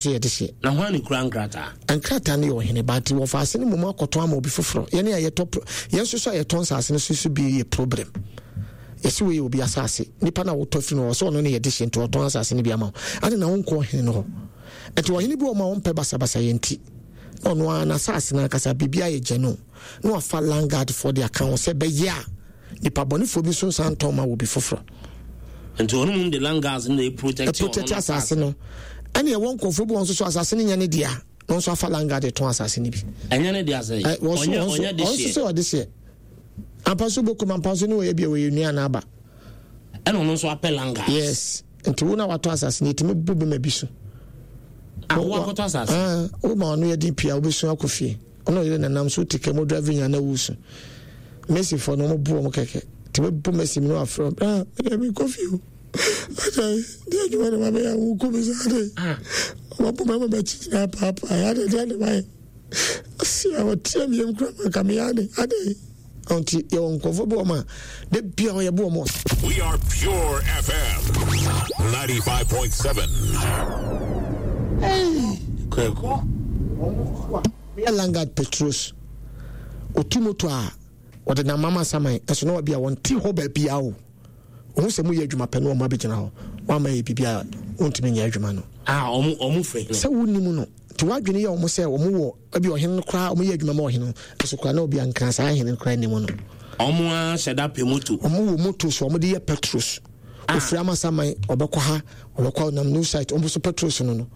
So yɛde hyeɛ. Na hwan na ekura nkrataa? Nkrataa no yɛ ɔhene ba nti wɔfa ase no mmom akɔtɔn ama obi foforɔ. Yɛne a yɛtɔ yɛn nso so a yɛtɔn nsaase no so so bi yɛ problem. Yɛsi wei yɛ obi asaase. Nipa no a wotɔ firi no ɔsɛ ɔno ne yɛde hyeɛ nti ɔtɔn asaase no bi ama wo. Ade na wonkɔ ɔhene no hɔ. Nti ɔhene bi wɔ ma ɔmpɛ basabasa yɛ nti na ɔno ara n'asaase no ankasa biribi ayɛ gya no na wafa land guard foɔ de aka ho sɛ bɛyɛ a nipa bɔnefoɔ bi nso nsan ntɔn ma wɔ bi foforɔ. Nti ɔno mu de land guards no na protect protect asase no. Ɛne ɛwɔ nkurɔfoɔ bi wɔn nso so asase no nyɛ ne dea na nso afa land guard tɔn asase no bi. Ɛnyɛ ne dea sɛ ɔnyɛ ɔnyɛ de hyɛ. Ɔnso sɛ ɔde hyɛ. Ampa so bokum ampa so ne wɔyɛ bi a wɔyɛ nua na aba. Ɛna ɔno nso apɛ land guards. Yes. Nti wo na watɔ asase no yɛtumi bu bema bi so. Ah, wo akɔtɔ asase. Ah, wo ma ɔno yɛ den pii a wobɛsu akɔ fie. Ɔno ɔyere nanam so wote kɛ mo drive nya na wusu. Messi fɔ no ɔmo bu ɔmo kɛkɛ. Nti bɛbu Messi mi no afrɛ ɔmo. Ah, mede mi kɔ fie o. Ata di adwuma na mabɛyɛ a woku mi saa de. Ɔmo bu mɛma bɛkyi nyinaa paapaa. Ade deɛ ne mayɛ. Asi a ɔteɛ mi yam kura ma ka mi ade ade. Nti yɛwɔ nkurɔfoɔ bi wɔ ma de bia ɔyɛ bu wɔn. We are Pure FM 95.7. Hey, Kweku. Meyɛ Langard Petrus. Otu moto a wɔde nam mama saman ɛso na wabi a wɔnte hɔ baabi a o. Ohun sɛ moyɛ adwuma pɛ na wɔn abɛgyina hɔ. Wɔama yɛ biribi a wɔntumi nyɛ adwuma no. Ah, wɔn wɔn fɛ. Sɛ wonim no, nti wadwene yɛ wɔn sɛ wɔn wɔ ebi ɔhene no koraa wɔn yɛ adwuma ma ɔhene no nso koraa na obi ankra saa ahene no koraa nim no. Wɔn ara hyɛ da pɛ moto. Wɔn wɔ moto so wɔn de yɛ petros. Ah. Ofiri amasaman ɔbɛkɔ ha ɔbɛkɔ nam new site wɔn nso petros no no.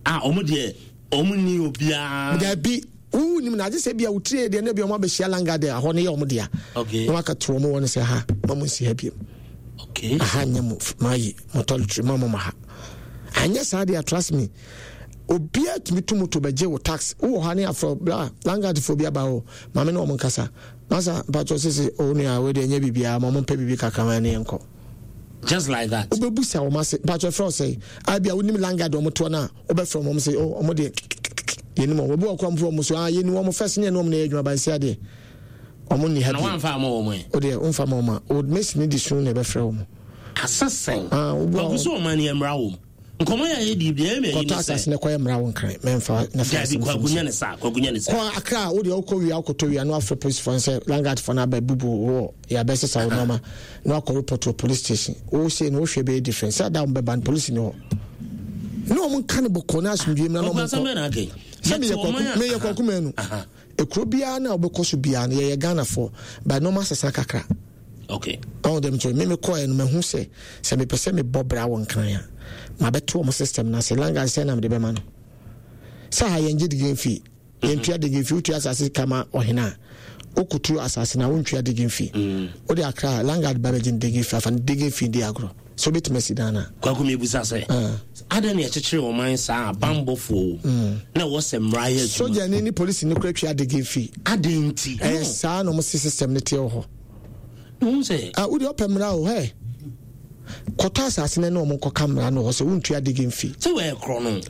Ah, wɔn deɛ wɔn ni obiara. Dabi wowu nim na agye sɛ bia wotiri deɛ na bia wɔn abɛhyia langa deɛ ahɔ no yɛ wɔn dea. Okay. Na waka to wɔn wɔ no sɛ ha ma mo nsi ha biem. Okay. Aha nyɛ mo ma yi mo tɔlitiri ma mo ma ha. Anyɛ saa deɛ trust me obiara tumi tu moto bɛgye wo tax wowɔ hɔ ne afrɛ bla langadfoɔ bi aba hɔ maame ne wɔn nkasa masa mpakyɛ sese o nua wei deɛ ɛnyɛ biribiara ma wɔn mpɛ biribi kakra ma ne yɛnkɔ. Just like that. Wobɛbu sa wɔn ase mpakyɛ frɛ ɔsɛe abi a wonim langard wɔn toɔ no a wobɛfrɛ wɔn sɛ o wɔn deɛ yɛnim wɔn obi wɔ kora mfrɛ wɔn so ah yɛnim wɔn fɛs ne yɛne wɔn na ɛyɛ adwuma bansi adeɛ wɔn nni ha bi. Na wɔamfa ama wɔn ɛ. O deɛ wɔmfa ma wɔn a o mesi ne de sun na ɛbɛfrɛ wɔn. Asesɛn. Ah, Kwaku sɛ ɔman no yɛ mmara wɔ mu. Nkɔmɔ yɛ ayɛ di deɛ ɛmɛ yi ne sɛ. Kɔtɔ asase na kɔyɛ mmara wo nkran mɛnfa na fa asɛm fam. Kwaku nyɛ ne saa kwaku nyɛ ne saa. Kɔ Accra wo deɛ wokɔ wia wokɔtɔ wia na wafrɛ polisifoɔ no sɛ landguard foɔ no aba bubu wɔ yɛabɛ sesa wo nneɛma na wakɔ report wɔ police station wo sei no wohwɛ bɛyɛ different sɛ ada wɔn bɛba no polisi ni hɔ ne wɔn nka ne bɔkɔ na asomdwie mmra na wɔn nkɔ sɛ meyɛ kwaku meyɛ kwaku mɛnu. Ekuro biara na wobɛkɔ so biara no yɛyɛ Ghanafoɔ but nneɛma asesa kakra. Okay. Ɔn dɛm nti me mekɔɛ no mahu sɛ sɛ mepɛ sɛ mebɔ bra wɔ Nkran a mabɛto wɔn system no ase langan sɛ na mede bɛma no. Sɛ ha yɛngye digging fee yɛntua digging fee wotua asase kama ɔhene a wokotu asase na wontua digging fee. Mm. Wode akra langard ba bɛgye digging fee afa no digging fee di agorɔ. Sɛ wobɛtumi asi dan no a. Kwaku mebisa sɛ, adɛn na yɛkyekyere ɔman saa a bammɔfoɔ wom na ɛwɔ sɛ mmara yɛ adwuma? Sogyani ne polisini kora twa adegen fee. Adɛn nti? Ɛyɛ saa na wɔn se system no teɛ wɔ hɔ. Wohu sɛ. Ah, wode ɔpɛ mmara o, hɛ. Kɔtɔ asase no ne wɔn nkɔka mmara no wɔ hɔ sɛ wontua adegen fee. Sɛ wɔyɛ korɔ no.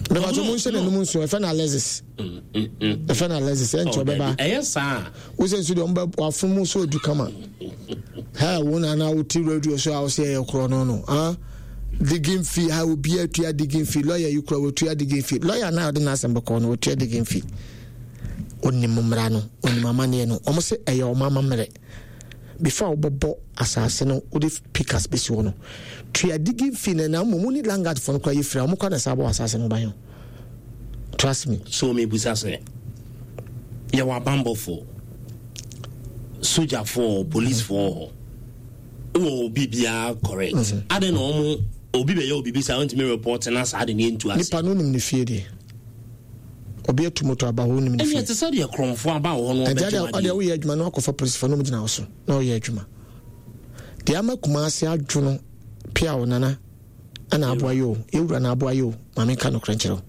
Bɛbàtò mo nhyɛ n'anum nsuo, ɛfɛ na Alexis. Ɛfɛ na Alexis, ɛnkyɛ oh, ɔbɛba. Ɛyɛ saa. Wosɛ nso deɛ ɔmbɛ wafom mu so edu kama. Hɛ wo na na wote radio so a wosɛ ɛyɛ korɔ no no. Ah, digging fee ha obi atua digging fee lawyer yi kura wotua digging fee lawyer na ɔde n'asɛm bɛkɔ no wotua digging fee. Onim mmara no, onim amanneɛ no. Wɔn sɛ ɛyɛ wɔn amammerɛ. Before a wobɛbɔ asase no wode pikas bɛsi hɔ no tua digging fee no na mmom wo ne landguard foɔ no koraa yɛ firi a wɔn koraa na saa bɔ asase no ban ho trust me. So mebisa sɛ yɛwɔ abanbɔfoɔ sogyafoɔ policefoɔ hɔ wɔ obi biara correct mm -hmm. adɛn na wɔn obi bɛyɛ obi bi saa ɔntumi report na saa de ne ntu ase. Nipa no nim ne fie deɛ. Obi atu moto aba hɔ wonim ne fie. Ɛnna ɛte sɛ deɛ korɔmfoɔ aba wɔ hɔ no ɔbɛgye wadeɛ. Ɛdeɛ woyɛ adwuma na wakɔfa polisifoɔ na ɔmo gyina wo so na ɔyɛ adwuma. Deɛ ama Kumasi adwo no pia wo nana ɛna aboa yɛ o yɛwura na aboa yɛ o maame nka nokorɛ nkyerɛ wo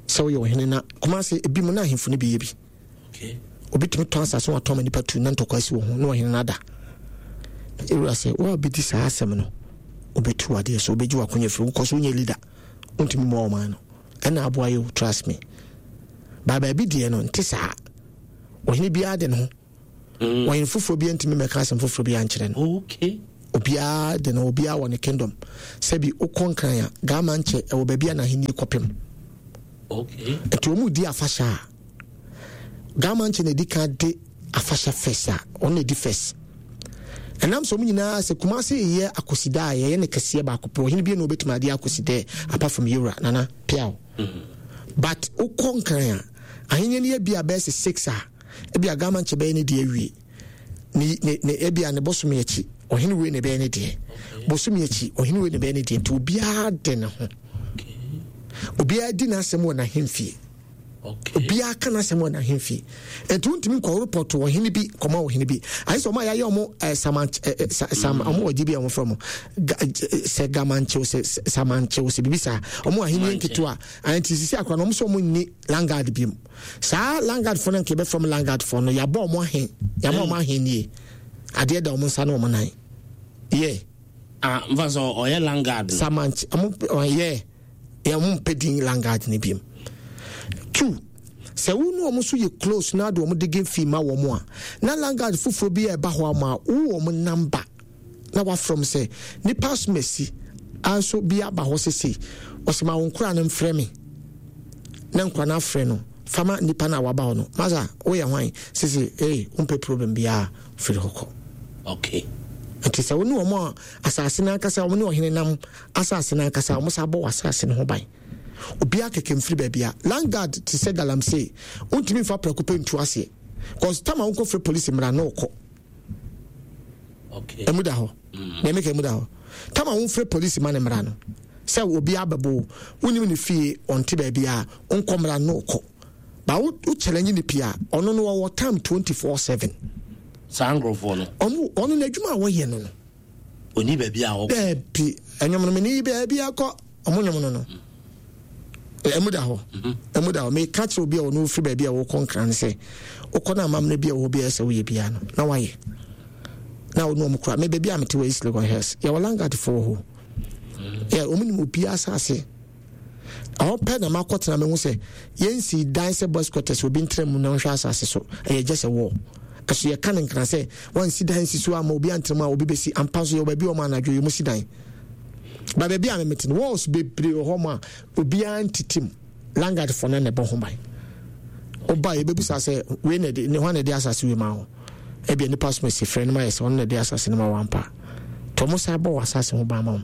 sɛ woyɛ ɔhene na Kumasi ebi mu na ahemfo no bi yɛ bi. Obi tumi tɔn asase wɔatɔn ma nipa tu na ntɔkwa asi wɔ ho na ɔhene no ada. Yɛwura sɛ wo a wobɛdi saa asɛm no wobɛtu adeɛ so wobɛgye w'akonya firi wokɔ so wonyɛ leader wontumi mmoa ɔman no. Ɛna aboa yi o trust me ba baabi deɛ no nte saa ɔhene biara de ne ho mm. ɔhene foforɔ biara ntumi mmɛka asɛm foforɔ biara nkyerɛ no okay. Obiara de no, obiara wɔ ne kingdom. Sɛbi wokɔ Nkran a, Ghama nkyɛ ɛwɔ baabi a n'ahenni kɔpem. Okay. Nti wɔn di afahyɛ a, Ghama nkyɛ na edi kan de afahyɛ first a, wɔn na edi first. Ɛnam sɛ wɔn nyinaa sɛ Kumasi yɛ akosida a yɛyɛ ne kɛseɛ baako pɛ, ɔhene bi na obetumi adeɛ akosida apart from Yewura Nana Piaw. Mm-hmm. But wokɔ Nkran a, ahenni no yɛ bi a bɛyɛ sɛ six a, ebi a Ghama nkyɛ bɛyɛ ne deɛ awie. Ne ne ne ebia ne bosome akyi ɔhene wei na ɛbɛyɛ ne deɛ bosome akyi ɔhene wei na ɛbɛyɛ ne deɛ nti obiara de ne ho obiara di n'asɛm wɔ n'ahemfie obiara ka n'asɛm wɔ n'ahemfie nti wontumi nkɔ report ɔhene bi kɔma ɔhene bi ayɛ sɛ ɔmo a yɛayɛ ɔmo ɛɛ saman ɛɛ sam ɔmo wɔ gye bi a ɔmo frɛ ɔmo sɛ gamankyew sɛ samankyew sɛ bibi saa ɔmo ahenni nketewa nti sisi akora na ɔmo sɛ ɔmo nni langard bi mu. Saa landguard fo no nka yɛbɛfrɛ wɔn landguard fo no yɛabɔ wɔn ahe yɛama wɔn ahe nie adeɛ da wɔn nsa ne wɔn nan yɛ. Ah nfa sɛ ɔyɛ landguard no. Samanch ɔmo yɛ yɛ ɔmo mpɛ din landguard no bi two sɛ wo ne wɔn nso yɛ close na de wɔn digging fee ma wɔn a na landguard foforɔ bi a ɛba hɔ ama wo wɔn number. na wafrɛ m sɛ nipa asomasi nso bi aba hɔ sesei ɔsɛ ma wo nkora no mfrɛ me na nkora no afrɛ no fama nipa no a waba hɔ no masa woyɛ hwan sese ee wompɛ problem biara firi hɔ kɔ okay nti sɛ wo ne wɔn a asase no ankasa wɔn ne ɔhene nam asase no ankasa wɔn sa bɔ wɔ asase no ho ban obiara kɛkɛ mfiri baabi a landguard te sɛ galamsey wontumi mfa prɛko pɛ ntu aseɛ cause tama wonkɔfrɛ polisi mmara na ɔkɔ Emu da hɔ. Mm. Nea meka emu da hɔ. Tama womfrɛ polisi ma ne mmara no. Sɛ obi abɛbo wo, wonim ne fie, ɔnte baabi a, wonkɔ mmara no kɔ. Ba wo wo challenge ne pii a, ɔno no ɔwɔ time 24/7. Saa nkurɔfoɔ no. Ɔmo ɔno n'adwuma a wɔyɛ no no. Oni baabi a ɔkɔ. Daabi, ɛnwom no mene yi baabi akɔ. Ɔmo nwom no no. Ɛmu da hɔ. Ɛmu da hɔ. Meka kyerɛ obi a ɔno ofiri baabi a wɔkɔ nkran no sɛ, wokɔ no amammerɛ bi a wɔwɔ biara sɛ woyɛ biara no, na wayɛ. Na ɔno ɔmo kura. Me baabi a mete wɔ East Legon Hills, yɛwɔ landguard foɔ wɔ hɔ. Yɛ ɔmo nim obiara asase. Ɛhɔ pɛ na makɔtena mehu sɛ yɛnsi dan sɛ boys quarters obi ntena mu na ɔnhwɛ asase so. Ɛyɛ just a wall. Ɛso yɛka no nkran sɛ wansi dan nsi so ama obi antena mu a obi bɛsi. Ampa nso yɛwɔ baabi a ɔmo anadwo yɛ ɔmo si dan. Ba baabi a memete no walls bebree wɔ hɔ ma obiara ntete mu. Landguard fo no na ɛbɔ ho ban. Woba yɛbɛbusa sɛ wei na ɛde ne hwan na ɛde asase wei ma wo. Ebia nipa som asi frɛ no ma yɛ sɛ ɔno na ɛde asase no ma wo ampa. Nti ɔmo san bɔ wɔ asase ho ban ma wo.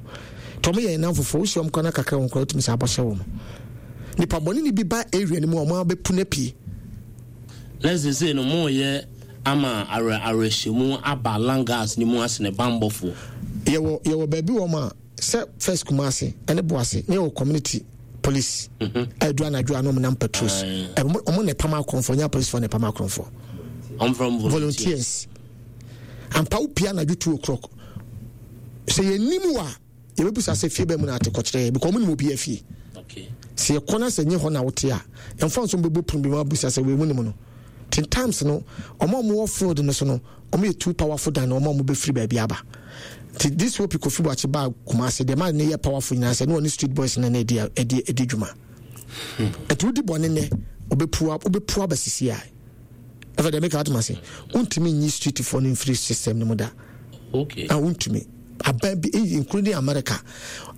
Nti ɔmo yɛ nnam foforɔ wohyia ɔmo kora na kakra wɔn kora wotumi san bɔ hyɛ wɔn. Nipa bɔne ne bi ba area no mu a ɔmo abɛpu no apue. Na seesei no moreyɛ ama awerɛ awerɛhyɛmu aba Langas no mu asene bammɔfoɔ. Yɛwɔ yɛwɔ baabi wɔ ma sɛ first Kumasi ɛne Boase ne yɛwɔ community police mhm. a ɛdu anadwo a na wɔn nam patrols wɔn na ɛpam akorɔmfoɔ nyɛ apolisifoɔ na ɛpam akorɔmfoɔ volunteers ampa wo pia anadwo two o'clock sɛ yɛn nim wa yɛbɛbusa sɛ fie bɛn mu na ate kɔkyerɛ yɛ because ɔmo nim obi afie sɛ yɛkɔ na sɛ nye hɔ na wote a yɛmfa nso mbɛbɔ pono bi mu abusa sɛ wei mu nim no ten times no ɔmo a ɔmo wɔ field no so no ɔmo yɛ too powerful than ɔmo a ɔmo bɛfiri baabi aba nti this hope Kofi Boakye baa Kumasi deɛ maa ne yɛ powerful nyinaa sɛ ne ɔne street boys no na ɛdi ɛdi ɛdi dwuma nti wodi bɔne nɛ ɔbɛpua wobɛpua aba sisi a ɛfɛ deɛ meka atoma se wontumi nyi street foɔ no mfiri system no mu da okay. ah, wontumi aban bi eh, including America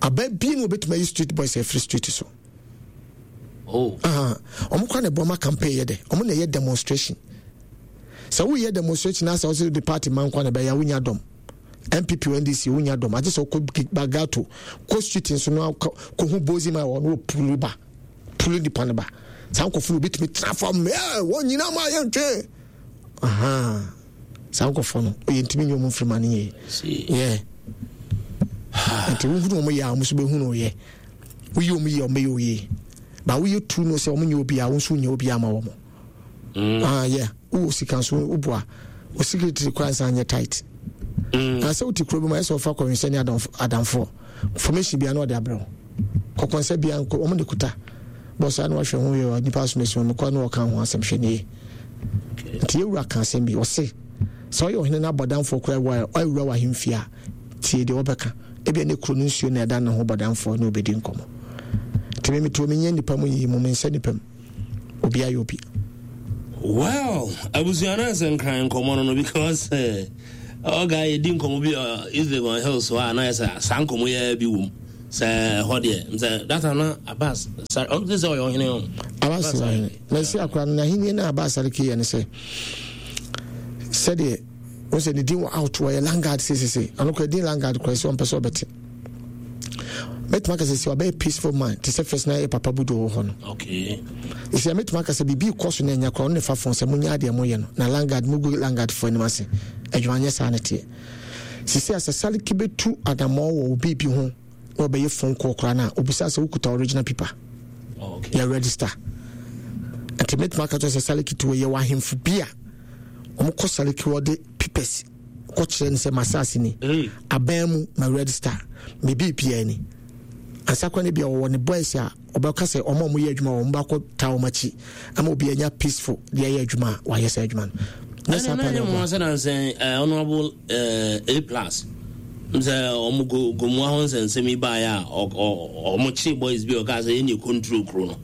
aban bi na wɔbɛtumi ayi street boys afiri street so oh. Ɔmo kora na ɛbɔ ma campaign yɛ dɛ ɔmo na ɛyɛ demonstration sɛ woyɛ demonstration na sɛ wosɛ de party ma nkwa na ɛbɛyɛ wonya dɔm npp ndc wonya dɔm agye sɛ wokɔ bagato kɔ street nso no kɔhu bozi ma wɔ no wɔpulu ba pulu nipa no ba saa nkɔfo no obɛtumi tena fam wɔn nyina ma yɛntwe saa nkɔfo no ɔyɛ ntumi nyɛ ɔmo mfiri ma no yie yɛ nti wohunu ɔmo yɛ a ɔmo nso bɛhunu ɔyɛ woyɛ ɔmo yie ɔmo bɛyɛ ɔyie ba woyɛ tu no sɛ ɔmo nyɛ obi a wo nso nyɛ obi ama wɔn mm. ah yeah wowɔ sika nso woboa wo secretary koraa nsa nyɛ tight mm. na sɛ wote kuro bi mu ayɛ sɛ wɔfa kɔnwensɛ ne adamfoɔ formation bia na ɔde abrɛ wo kɔkɔnsɛ bia nkɔ wɔn de kuta bɔ saa na wahwɛ ho yɛ nipa asomasi wɔn kɔ na ɔka ho asɛm hwɛ nie nti yɛwura ka asɛm bi ɔse sɛ ɔyɛ ɔhene no abɔdamfoɔ koraa wɔ awura wɔ ahemfie a tie deɛ wɔbɛka ebia ne kuro no nsuo na ɛda ne ho bɔdamfoɔ ne obɛdi nkɔmmɔ nti me metuo menyɛ nnipa mu yiyi mu mensɛ nnipa mu obi ayɛ obi well abusua no ɛsɛ nkran nkɔmmɔ no no because uh, eh, Ɔga yɛdi nkɔmmɔ bi wɔ East Legon Hills hɔ a na yɛ sɛ saa nkɔmmɔ yi bi wom sɛ ɛhɔ deɛ sɛ that time na Abbas sare ɔno sɛ ɔyɛ ɔhene o. Abbas yɛ ɔhene na ɛsi akora no n'ahenni no Abbas sare kii yɛ ne sɛ sɛdeɛ wọ́n sɛ ne din wɔ out wɔyɛ landguard sesese ɔno kora din landguard kora sɛ ɔmpɛ sɛ ɔbɛte mɛtumi aka sɛ sɛ ɔbɛyɛ peaceful man te sɛ first na yɛ papa budo wɔ hɔ no ɛsɛ mɛtumi aka sɛ biribi kɔ so na ɛnya kora ɔno ne fa fon sɛ monyɛ adeɛ moyɛ no na landguard mugu landguard foɔ anim ase adwuma nyɛ saa ne teɛ sisi a sɛ saliki bɛtu adammɔ wɔ obi bi ho na ɔbɛyɛ phone call koraa no a obisa sɛ wokuta original paper yɛ register nti mɛtumi aka kyerɛ sɛ saliki to yɛ wɔ ahemfo bi a wɔkɔ saliki wɔde papers kɔkyerɛ no sɛ m'asase ni aban mu ma register me biribiara ni ansa kora no bia wɔwɔ ne boys a ɔbɛka sɛ ɔma ɔmo yɛ adwuma wɔn bakɔ taa wɔn akyi ama obi anya peaceful de ayɛ adwuma a wayɛ saa adwuma no. Ne saa pa na ɔbɔ. Ɛna nansɛn eh, honorable eh, A plus sɛ ɔmo go gomua ho nsɛnsɛm yi baeɛ a ɔmo kye boys bi ɔka sɛ yɛne control kuro no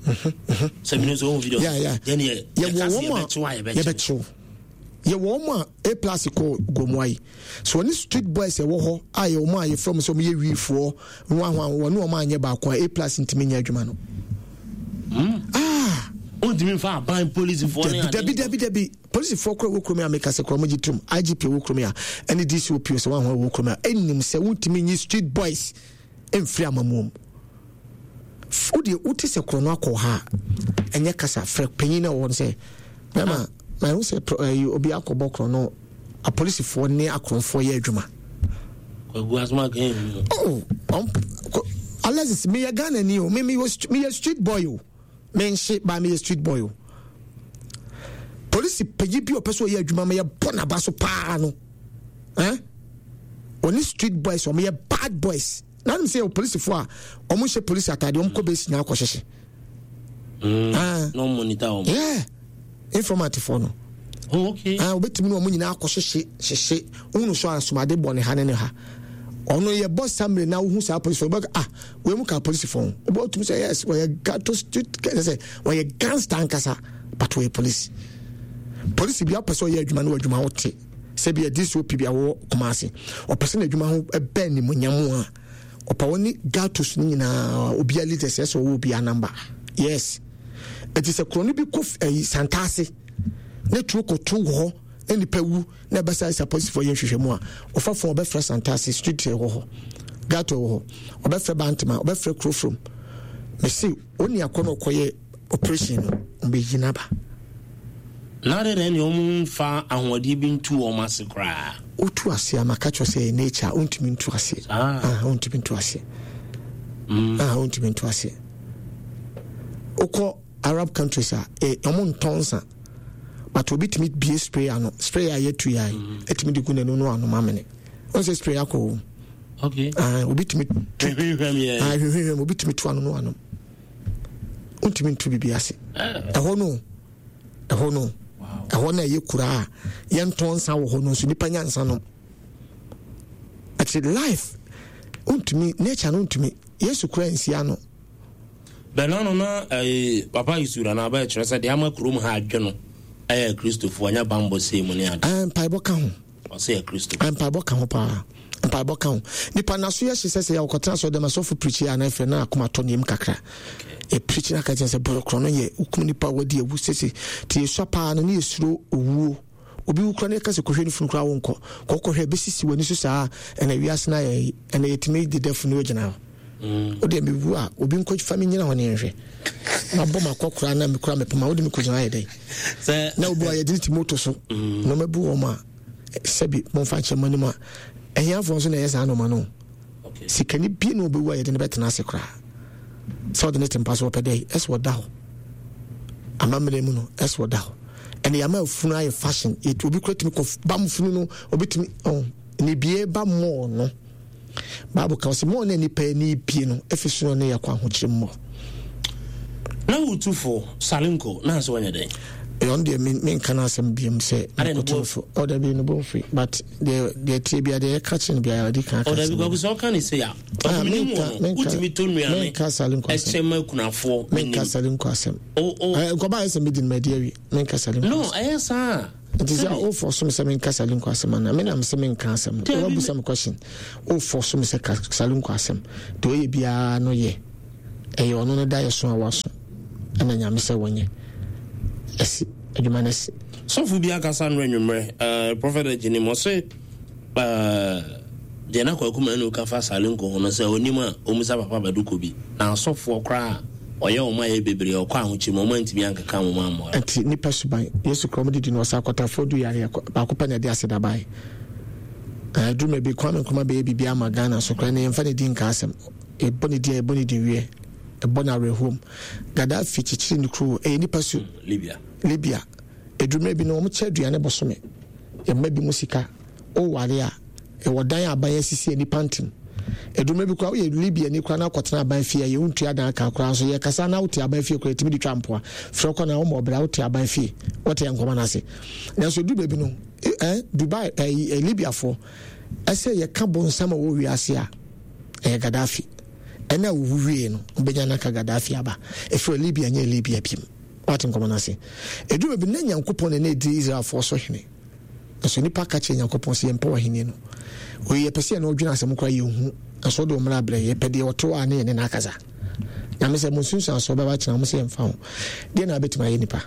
sɛ mene nso ɔmo video yɛne yɛka sɛ yɛbɛkyew a yɛbɛkyew yɛwɔ wɔn a A plus kɔ Gomoa yi so wɔne street boys ɛwɔ hɔ a yɛ wɔn a yɛfrɛ wɔn sɛ wɔn yɛ wiifoɔ nwanwa wɔne wɔn anyɛ baako a A plus ntumi nyɛ adwuma no. Hmm. Ah. Ontumi nfa aban polisifoɔ ne ade. Dabi dabi dabi polisifoɔ kora wɔ kurom a meka sɛ kora wɔn gye tum IGP wɔ kurom a ɛne DCOP sɛ wɔn ahoɔ wɔ kurom a ɛnim sɛ wontumi nyi street boys. mfiri amammuo mu. Wo deɛ wote sɛ korɔ no akɔ ha a, ɛnyɛ kasa frɛ panyin na ɔwɔ no sɛ bɛma mahu sɛ ɛyi obi akɔbɔ korɔ no apolisifoɔ ne akorɔmfoɔ yɛ adwuma. Kwagu asoma kan mu. Oh, Alexis meyɛ Ghana ni o me meyɛ street boy o. Menhye baa meyɛ street boy o. Polisi panyin bi a ɔpɛ sɛ ɔyɛ adwuma ma yɛbɔ n'aba so paa no. Eh? Ɔne street boys wɔn yɛ bad boys. Na anum sɛ yɛ polisifoɔ a wɔn nhyɛ polisi ataade wɔn kɔ base nyinaa kɔ hyehye. Mm. Ah. Na wɔn monitor wɔn. Yeah. Informant foɔ no. Oh, okay. Ah, obetumi ne wɔn nyinaa akɔ hyehye hyehye. Wohunu so asomade bɔ ne ha ne ne ha. Ɔno yɛ bɔ samre na wohu saa polisifoɔ bɛka ah wei mu ka polisifoɔ ho. Wobɛ tumi sɛ yes wɔyɛ gato street kɛsɛ sɛ wɔyɛ gangster ankasa but wɔyɛ polisi. Polisi bi apɛ sɛ ɔyɛ adwuma no wɔ adwuma wote sɛ bi DCOP bi a wɔwɔ Kumasi ɔpɛ sɛ n'adwuma ho ɛbɛn nimonyam a ɔpɛ wɔn ne gatos no nyinaa obiara leaders ɛsɛ ɔwɔ obiara number yes ɛti sɛ korɔ no bi kɔ ɛyi santaase ne tuo kɔto wɔ hɔ na nipa wu na ɛbɛsa sɛ apolisifoɔ yɛ nhwehwɛmu a ɔfa fon ɔbɛfrɛ Santase street ɛwɔ hɔ gato ɛwɔ hɔ ɔbɛfrɛ Bantama ɔbɛfrɛ Kurofrom mese oni akɔ na ɔkɔyɛ operation no ɔbɛyi n'aba. Na adɛn na ɛne wɔn mfa ahoɔden bi ntu wɔn ase koraa. Wotu ase a maka kyerɛ sɛ ɛyɛ nature wontumi ntu ase ah wontumi ntu ase mm. ah wontumi ntu ase wokɔ Arab countries a eh, wɔn ntɔn nsa but obi tumi bie spray ano spray a yɛtu yɛ ayi mm. etumi de gu n'anu no anom amene wɔn sɛ spray akɔ wɔm okay ah obi tumi tu ah hwehwɛm obi tumi tu ano no anom ntumi ntu bibi ase eh. ɛhɔ no ɛhɔ no ɛhɔ no ɛyɛ kura a yɛntɔn nsa wɔ hɔ no nso nipa nya nsa nom ɛti life ntumi nature no ntumi yesu kura nsia no. Bɛn ano na eh, Papa Isura na abɛyɛ kyerɛ sɛ deɛ ama kurom ha adwe no ɛyɛ Kristofoɔ nyɛ bammɔ sei mu ne ade. Ah, mpaebɔ ka ho. Ɔsɛ yɛ Kristo. Ah, mpaebɔ ka ho paa. Mpaebɔ ka ho. Nipa naso yɛ hye sɛ sɛ yɛ ɔkɔtena sɛ ɔdɛm asɔfo pirikyi a na ɛfɛ na akoma tɔ ne yam kakra. Ɛpirikyi na aka kyerɛ sɛ bɔrɔkorɔ no yɛ wokum nipa wadi awu sese. Ti yɛsua paa no ne yɛsuro owuo. Obi wu koraa na yɛka sɛ kɔhwɛ ne funu koraa wonkɔ. Kɔkɔhwɛ ɛbɛsisi w'ani so saa ɛna wiase no ayɛ ɛna yɛtumi deda funu gyina hɔ. Mm. Wode mewu a obi nkɔ fa me nyina hɔ ne nhwɛ. Mabɔ makɔ koraa na mekura mepoma wode me kɔgyina ayɛ dɛn. Na obi a yɛde ne ti moto so mm. na ɔmabu wɔn a sɛbi momfa nkyɛ mo anim a ahiafoɔ nso na ɛyɛ saa nɔɔma no. Sikani bi na ɔbɛwu a yɛde no bɛtena ase koraa. Sɛ ɔde ne te mpa so ɔpɛ dɛ ɛsɛ ɔda hɔ. Amammerɛ mu no ɛsɛ ɔda hɔ. Ɛna yɛama afunu ayɛ fashion. Obi kura tumi kɔ bam funu no obi tumi ɔn ne bie ba mɔɔ no. Bible ka sɛ mɔɔ na nipa ani bie no efi so ne yɛkɔ ahokyere mmɔ. Na wotufo Salinko na nso wɔnyɛ dɛn? Ɛno deɛ menka no asɛm biom sɛ mekɔto so. Ɔda bi no bɔ but deɛ deɛ tie bia deɛ yɛka kyerɛ no biara ɔdi kan aka ɔdabi kwaku sɛ ɔka ne sei a ah, menim wɔ no wotumi tɔ nnuane ɛkyɛ ma akunafoɔ menka sale nkɔ asɛm nkɔba ayɛ sɛ medi no madi awie menka sale no ɛyɛ saa. Nti sɛ wofɔ so me sɛ menka Salinko asɛm ana? Me na me sɛ menka asɛm no. Woabusa me question. Wofɔ so me sɛ ka Salinko asɛm. Deɛ ɔyɛ biara no yɛ. Ɛyɛ ɔno no da yɛ so a waso. Ɛna Nyame sɛ wɔnyɛ. Asi. Adwuma no asi. Sɔfo bi akasa nnora anwummerɛ, eh, Prophet Agyenim, ɔse eh, deɛ na Kwaku Manu ka fa Salinko ho no sɛ ɔnim a ɔmmisa Papa Badu Kobi, na asɔfoɔ koraa a ɔyɛ wɔn ayɛ bebree ɔkɔ ahokyere mu wɔn antumi ankeka wɔn ammoa no. Nti nipa suban, Yesu koraa wɔn didi no ɔsa akɔtafoɔ du yareɛ baako pɛ na ɛde aseda baeɛ. Ɛduru mɛ bi Kwame Nkrumah bɛyɛ biribi ama Ghana so koraa na yɛmfa ne din nka asɛm. Yɛbɔ ne din a yɛbɔ ne din wiɛ, ɛbɔ no awerɛhoɔ mu. Gaddafi kyekyere ne kuro, ɛyɛ nipa su. Libya. Libya. Ɛduru mmerɛ bi no wɔn kyɛ aduane bosome, yɛma bi mu sika, woware a, ɛwɔ dan a aban asisi a nnipa ntem. Ɛduru mmerɛ bi koraa woyɛ Libya ni koraa na akɔtena aban fie a yɛ wontua dan ka koraa nso yɛkasa na wote aban fie koraa yɛtumi de twa mpoa frɛ kɔ na woma ɔbra wote aban fie wote yɛ nkɔmɔ no ase. Nanso ɛduru baabi no eh, Dubai eh, eh, Libyafoɔ ɛsɛ yɛka bonsam a wɔ wiase a ɛyɛ Gaddafi ɛna wowu wie no wobɛnya no aka Gaddafi aba ɛfiri Libya nyɛ Libya bim. Woate nkɔmmɔ no ase? Ɛduru baabi na Nyankopɔn na na ɛdi Israelfoɔ so hene. Nanso nnipa ka kyerɛ Nyankopɔn sɛ yɛmpɛ w'ahenni no. Wei yɛpɛ sɛ yɛne ɔdwene asɛm koraa yɛnhu. Nanso wode wo mmara brɛ yɛpɛ deɛ ɔte hɔ a ne yɛne no akasa. Nyame sɛ mo nsunsuansoɔ bɛba kyena mo sɛ yɛmfa ho. Deɛ na wabɛtumi ayɛ nipa?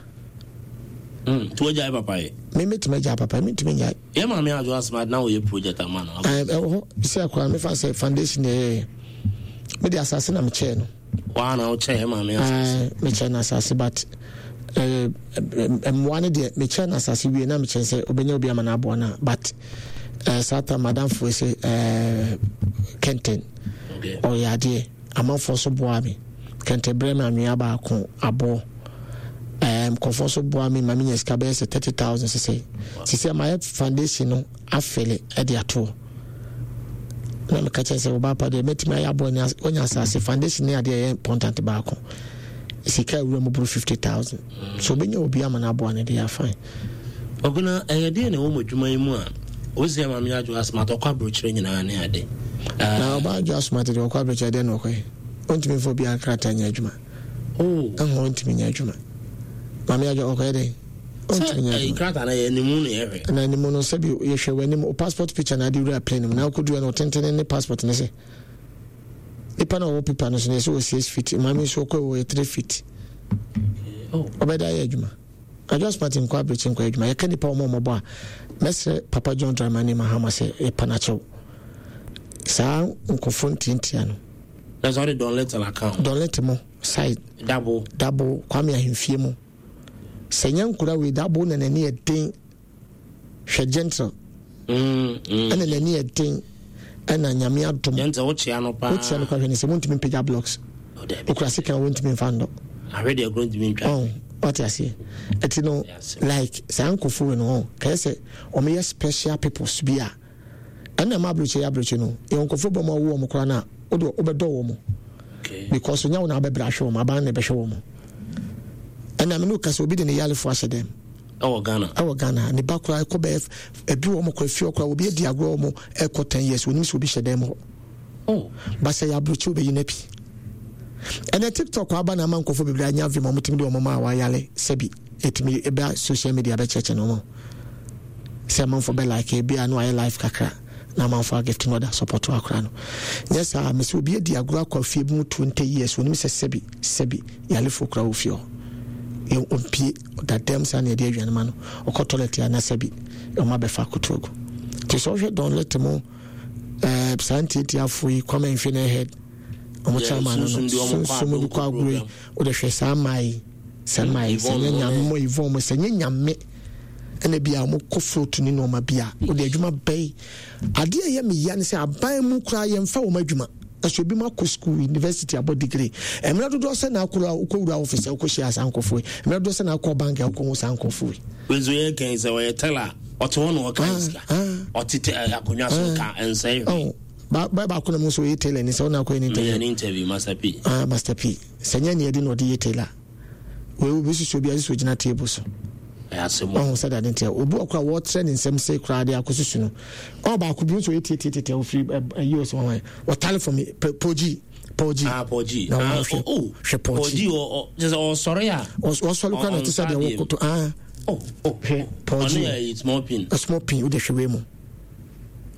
Mm, nti wagyae papa yɛ? Me mɛtumi agyae papa yɛ, mentumi nnyae. Yɛ maame Adwoa Smart na wɔyɛ project ama no. Ɛwɔ hɔ, sɛ akora mefa sɛ foundation yɛyɛyɛ. Mede asase na mekyɛɛ no. Waa na wokyɛ yɛ maame asase. Mekyɛ no asase but mmoa no deɛ mekyɛ no asase wie na mekyɛ sɛ obɛnya obi ama no aboa no but saa ta madamfoɔ sɛ kɛntɛn ɔyɛ adeɛ amanfoɔ so boa me kɛntɛn brɛ me anwea baako aboɔ nkurɔfoɔ nso boa me ma menya sika bɛyɛ sɛ 30000 sesɛ sesɛ mayɛ foundation no afele de atoɔ na meka kyerɛ sɛ ɔbaa pa deɛ mɛtumi ayɛ aboa ni wanya asase foundation ne adeɛ ɛyɛ important baako sika awura mu boro 50000 so wobɛnya obi ama no aboa no deɛ afan ɔgona ɛyɛ deɛ na ɛwɔ mu adwuma yi mu a wosi ama me adwo asoma ɔkɔ aburokyerɛ nyinaa ne ade na ɔbaa adwo asoma te deɛ ɔkɔ aburokyerɛ deɛ na ɔkɔyɛ ɔntumi mfa obiara krataa nyɛ adwuma oh. Ɛho ɔntumi nyɛ adwuma maame adwo ɔkɔyɛ dɛn ɔntumi nyɛ adwuma. Krataa no yɛ animu na yɛhwɛ. Na animu no sɛbi yɛhwɛ w'anim o passport picture na ade wura plane mu na akɔdua no ɔtentene ne passport ne sɛ nipa na ɔwɔ paper no so no yɛsɛ wɔ six feet maame nso ɔkɔ wɔ yɛ three feet ɔbɛda ayɛ adwuma adwa smart nkɔ abirikyi nkɔ adwuma yɛka nipa wɔn a wɔbɔ a mɛsrɛ papa John Dramani Mahama sɛ yɛpa n'akyɛw saa nkɔfo ntiantia no. Na sɛ ɔde Don Little aka ho. Don Little mo side. Dabo. Dabo Kwame Ahemfie mo. Sɛ nyɛ nkora wei dabo na n'ani yɛ den hwɛ gentle mm, mm. ɛna n'ani yɛ den ɛna nyame adom gentle wokyea no paa wokyea no paa hwɛ ne sɛ wontumi mpagya blocks oh, okura sika wontumi mfa ndɔ ahwɛ deɛ kuro ntumi ntwa oh, wate aseɛ ɛti no like saa nkɔfo wei no oh, kɛyɛ sɛ wɔyɛ special peoples bi a Ɛna ɛma abrɛkyɛ yɛ abrɛkyɛ no. Yɛwɔ nkurɔfoɔ bi a wɔn awo wɔn koraa no a, wode wobɛdɔ wɔn. Because onya wo na abɛbrɛ ahwɛ wɔn, aban na ɛbɛhwɛ wɔn. Ɛna me ne wo kasa obi de ne yarefoɔ ahyɛ dɛm. Ɛwɔ Ghana. Ɛwɔ Ghana. Ne ba koraa ɛkɔ bɛyɛ ebi wɔn kɔ efie koraa obi adi agorɔ wɔn ɛkɔ ten years onim sɛ obi hyɛ dɛm hɔ. Oh. Basɛ yɛ abrɛkyɛ obeyi na pi. Ɛnɛ TikTok aba na ama nkurɔfoɔ bebree anya vim wɔn tumi de wɔn ma a wɔayare sɛbi. Ɛtumi ɛba social media bɛkyerɛkyerɛ no ho sɛ amanfoɔ bɛ like ebi a na wayɛ live kakra na amanfoɔ agift no ɔda support akora no nyɛ saa mesi obi adi agorɔ akɔ afie bi mu 20 years onim sɛ sɛbi sɛbi yalefoɔ kora wɔ fie hɔ yɛ ɔmpie ɔda dɛm saa na yɛde aduane ma no ɔkɔ toilet a na sɛbi ɔma bɛfa akoto agu nti sɛ ɔhwɛ Don Lete mo ɛɛ saa ntiatiafoɔ yi Kwame Mfe ne head ɔmo kyɛ ama no no sunsum de kɔ agorɔ yi Wode hwɛ saa mmaa yi, saa mmaa yi, sɛ nyɛ nyame mo Yvonne mo, sɛ nyɛ nyame ɛna bi a wɔn kɔ float ne nneɛma bi a, wode adwuma bɛyi. Adeɛ a ɛyɛ me ya ne sɛ aban mu koraa yɛmfa wɔn adwuma. Ɛso ebi mo akɔ school, university abɔ degree. Mmerɛ dodoɔ sɛ na akɔ wokɔ wura office a wokɔ hyia saa nkurɔfoɔ yi. Mmerɛ dodoɔ sɛ na akɔ bank a wokɔ hu saa nkurɔfoɔ yi. Wei nso yɛ kɛn sɛ ɔyɛ teller ɔte hɔ na ɔka sika. Ɔte akonnwa so ka nsɛn hwee. Ba ba baako na mu nso ɔyɛ tailor ni sɛ ɔna akɔyɛ ne interview. Meyɛ ne interview Master P. Ah Master P. Sɛ nyɛ nea ɛde na ɔde yɛ tailor. Wei obi susu obi ase sɛ ogyina table so. Ɛyɛ asɛm. Ɔho sɛ dade ntia. Obi wɔ kora wɔtrɛ ne nsɛm se koraa de akɔsusu no. Ɔwɔ baako bi nso ɔyɛ tietietie ofiri ɛyi ɔsɛ wɔn wɔtale fam Pɔgyi. Pɔgyi. Ah Pɔgyi. Na wɔn hwɛ oh, hwɛ Pɔgyi. Pɔgyi ɔ ɔ kyerɛ sɛ ɔsɔre a. Ɔsɔre kora na ɔte sɛ deɛ wɔkoto ah. Oh, oh, hwɛ Paul Ɔno G. yɛ small pin. A small pin wode hwɛ wei mu.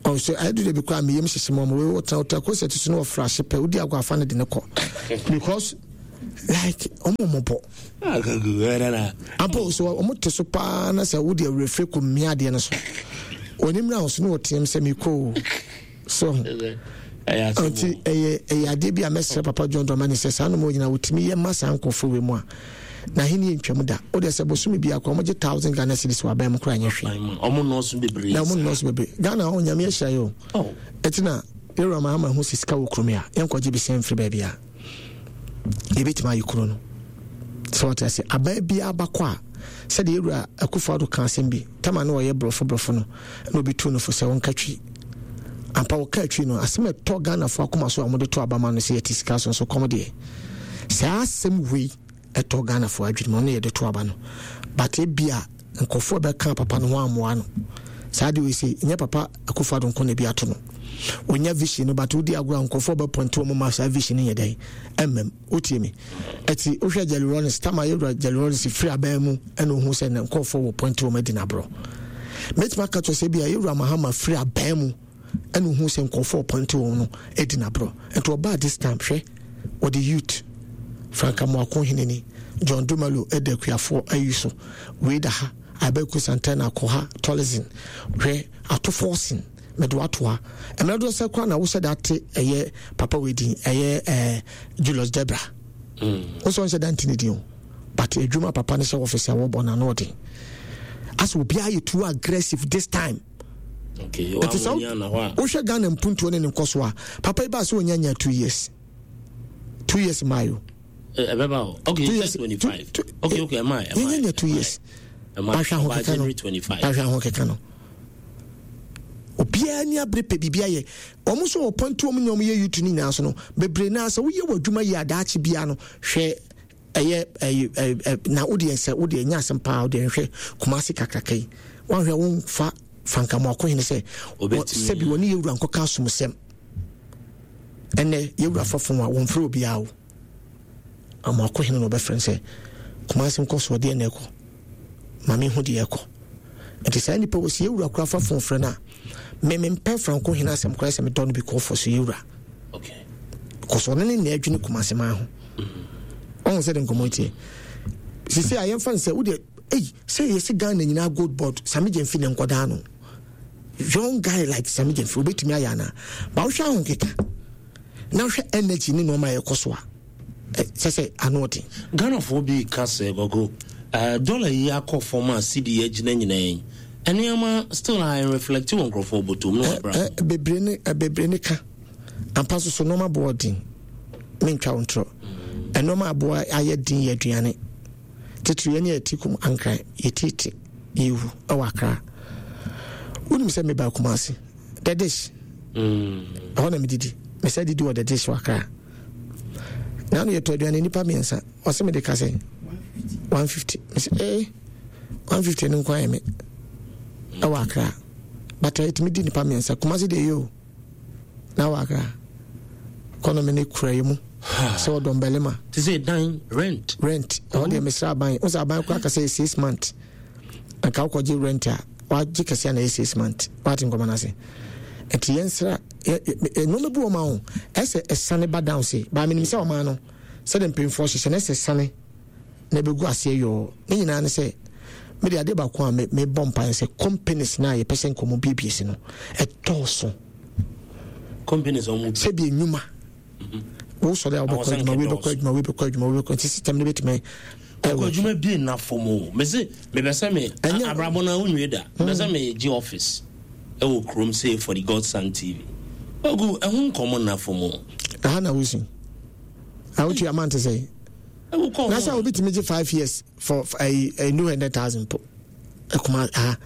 Ɔn so ayɛ de bi koraa meyam hyehye mu ɔmo wei wɔtena wɔtena kɔ sɛ so no wɔfra ahye pɛ wodi agorɔ afa no de ne kɔ because like ɔmo mmɔbɔ. Ampa o so ɔmo te so paa na sɛ wode awerɛfire kɔ mmea adeɛ no so wɔn mmira ho so ne wɔteam sɛ mekɔ o so ho nti ɛyɛ ɛyɛ adeɛ bi a mɛsrɛ papa John Dramani sɛ saa nnoɔma nyinaa wɔtumi yɛ ma saa nkurɔfoɔ wei mu a na ahenni ntwam da wode sɛ bosome biara koraa wɔgye thousand Ghana cedis wɔ aban mu koraa nyɛ hwee ɔmo nnɔɔso bebree na ɔmo nnɔɔso bebree Ghana hɔ nyame ahyira yɛ o ɛti na yɛwura Mahama ho sɛ sika wɔ kurom a yɛnkɔgye bi sɛ mfiri baabi a yɛbɛtumi ayɛ kuro no sɛ wɔte ase aban biara bakɔ a sɛdeɛ yɛwura Akufo Addo ka asɛm bi tama na ɔyɛ borɔfo borɔfo no na obi tu no fo sɛ wɔnka twi ampa wɔka twi no asɛm ɛtɔ Ghanafoɔ akoma so a wɔde to aba ma no sɛ yɛte sika so nso kɔm deɛ saa asɛm wei ɛtɔ Ghanafoɔ adwene mu ɔno yɛde to aba no but ebia nkurɔfoɔ bɛka papa no ho ammoa no saa deɛ wei sɛ nyɛ papa Akufo Addo nko na ebi ato no wɔnya vision no but wodi agorɔ a nkurɔfoɔ bɛpɔnte wɔn ma saa vision no yɛ dɛn ɛmmam wotie me ɛti wohwɛ Jerry Rawlings tama yɛwura Jerry Rawlings firi aban mu ɛna ohun sɛ ne nkurɔfoɔ wɔ pɔnte wɔn adi n'aborɔ mɛtumi aka kyerɛ sɛ bi a yɛwura Mahama firi aban mu ɛna ohun sɛ nkurɔfoɔ pɔnte wɔn no adi n'aborɔ nti ɔbaa this time hwɛ wɔde youth Frank Amoako Heneni John Dumelo ɛda akuafoɔ ayi so wei da ha Abeku Santana kɔ ha Tolizin hwɛ ato forcing mede wato ha mmerɛ dodoɔ sɛ koraa na wohyɛ da te ɛyɛ papa wei din ɛyɛ ɛɛ Julius Debra mm. wo sɛ ɔnhyɛ da nte ne din o but adwuma papa no hyɛ office a wɔbɔ no ano ɔden asɛ obiara yɛ too aggressive this time ɛti sɛ wohwɛ Ghana mpuntuo ne ne nkɔso a papa yi baa sɛ ɔnya nya 2 years 2 years maayo ɛbɛba o okay 2 years 25 okay ɛma ɛma nya 2 years wahwɛ ahokeka no wahwɛ ahokeka no obiara ni abere pɛ biribi ayɛ wɔn nso wɔ pɔnti wɔn nyɛ wɔn yɛ youth no nyinaa so no bebree naa sɛ woyɛ wɔ adwuma yie adaakye biara no hwɛ ɛyɛ ɛyɛ ɛ na wodeɛ sɛ wodeɛ nyɛ asɛm paa wodeɛ nhwɛ Kumasi kakraka yi wɔnhwɛ wɔnfa fankamu akohene sɛ sɛbi wɔne yɛwura nkɔka asomsɛm ɛnɛ yɛwura fa fon a wɔmfrɛ obiara o Amoakohene na ɔbɛfrɛ no sɛ Kumasi nkɔ so ɔdeɛ na ɛkɔ ma mehu deɛ ɛkɔ nti saa nipa wɔ sɛ yɛwura kora fa fon frɛ no a me mempɛ Franco hene asɛm koraa sɛ medɔ no bi kɔfɔ so yɛwura kɔsɔ ɔno ne na adwene Kumasi maa ho ɔho sɛ de nkɔmmɔ tiɛ sisi a yɛmfa no sɛ wodeɛ ei sɛ yɛsɛ Ghana nyinaa gold board Sami Gyamfi ne nkɔdaa no young guy like Sami Gyamfi wobɛtumi ayɛ anaa ba wohwɛ ahokeka na wohwɛ energy ne nneɛma a ɛkɔ so a sɛ sɛ ano ɔden. Ghanafoɔ bi ka sɛ Gogo, eh, dollar yi akɔ fam a cedi agyina nyinaa yi, nneɛma still a ɛnreflect wɔ nkurɔfoɔ bɔtɔm ne wɔn abrabɔ. Bebree ne bebree ne ka ampa so so nneɛma boɔ den mentwa wo ntorɔ nneɛma aboa ayɛ den yɛ aduane titiri yɛne yɛte kum ankran yɛtete yɛwu ɛwɔ akra wonim sɛ meba Kumasi the dish ɛhɔ na medidi mesɛ didi wɔ the dish wɔ akra na ano yɛtɔ aduane nnipa mmiɛnsa ɔsɛ mede ka sɛ 150 mesɛ ee 150 no nko ayɛ me ɛwɔ akra but ɛtumi di nnipa mmiɛnsa Kumasi deɛ yɛ o na wɔ akra economy ne kura yi mu sɛ ɔdɔm bɛlema te sɛ dan rent rent ɛhɔ deɛ mesrɛ aban wo sɛ aban koraa ka sɛ 6 month anka wokɔgye rent a wagye kɛseɛ na ɛyɛ 6 month wate nkɔmmɔ no ase nti yɛnsra nneɛma bi wɔ ma ho ɛsɛ ɛsane ba down se baa menim sɛ ɔman no sɛde mpanyinfoɔ hyehyɛ no ɛsɛ sane na ɛbɛgu aseɛ yɔɔ ne nyinaa ne sɛ mede adeɛ baako a mebɔ mpaeɛ sɛ companies no a yɛpɛ sɛ nkɔmmɔ biebie si no ɛdɔɔso companies ɔmo sɛbi enwuma wosɔre a wobɛkɔ adwuma wei bɛkɔ adwuma wei bɛkɔ adwuma wei bɛkɔ nti system no bɛtumi ɛkɔ adwuma bi nna fam o mese mebɛ sɛ me abrabɔ no a wonwie da mebɛ sɛ megye office ɛwɔ kurom sei for the Godson TV ogu ɛho nkɔmmɔ nna fam o ɛha na wosi a wotua amount sɛ na sɛ obi tumi gye 5 years for ɛyi 200,000 po ɛkuma ha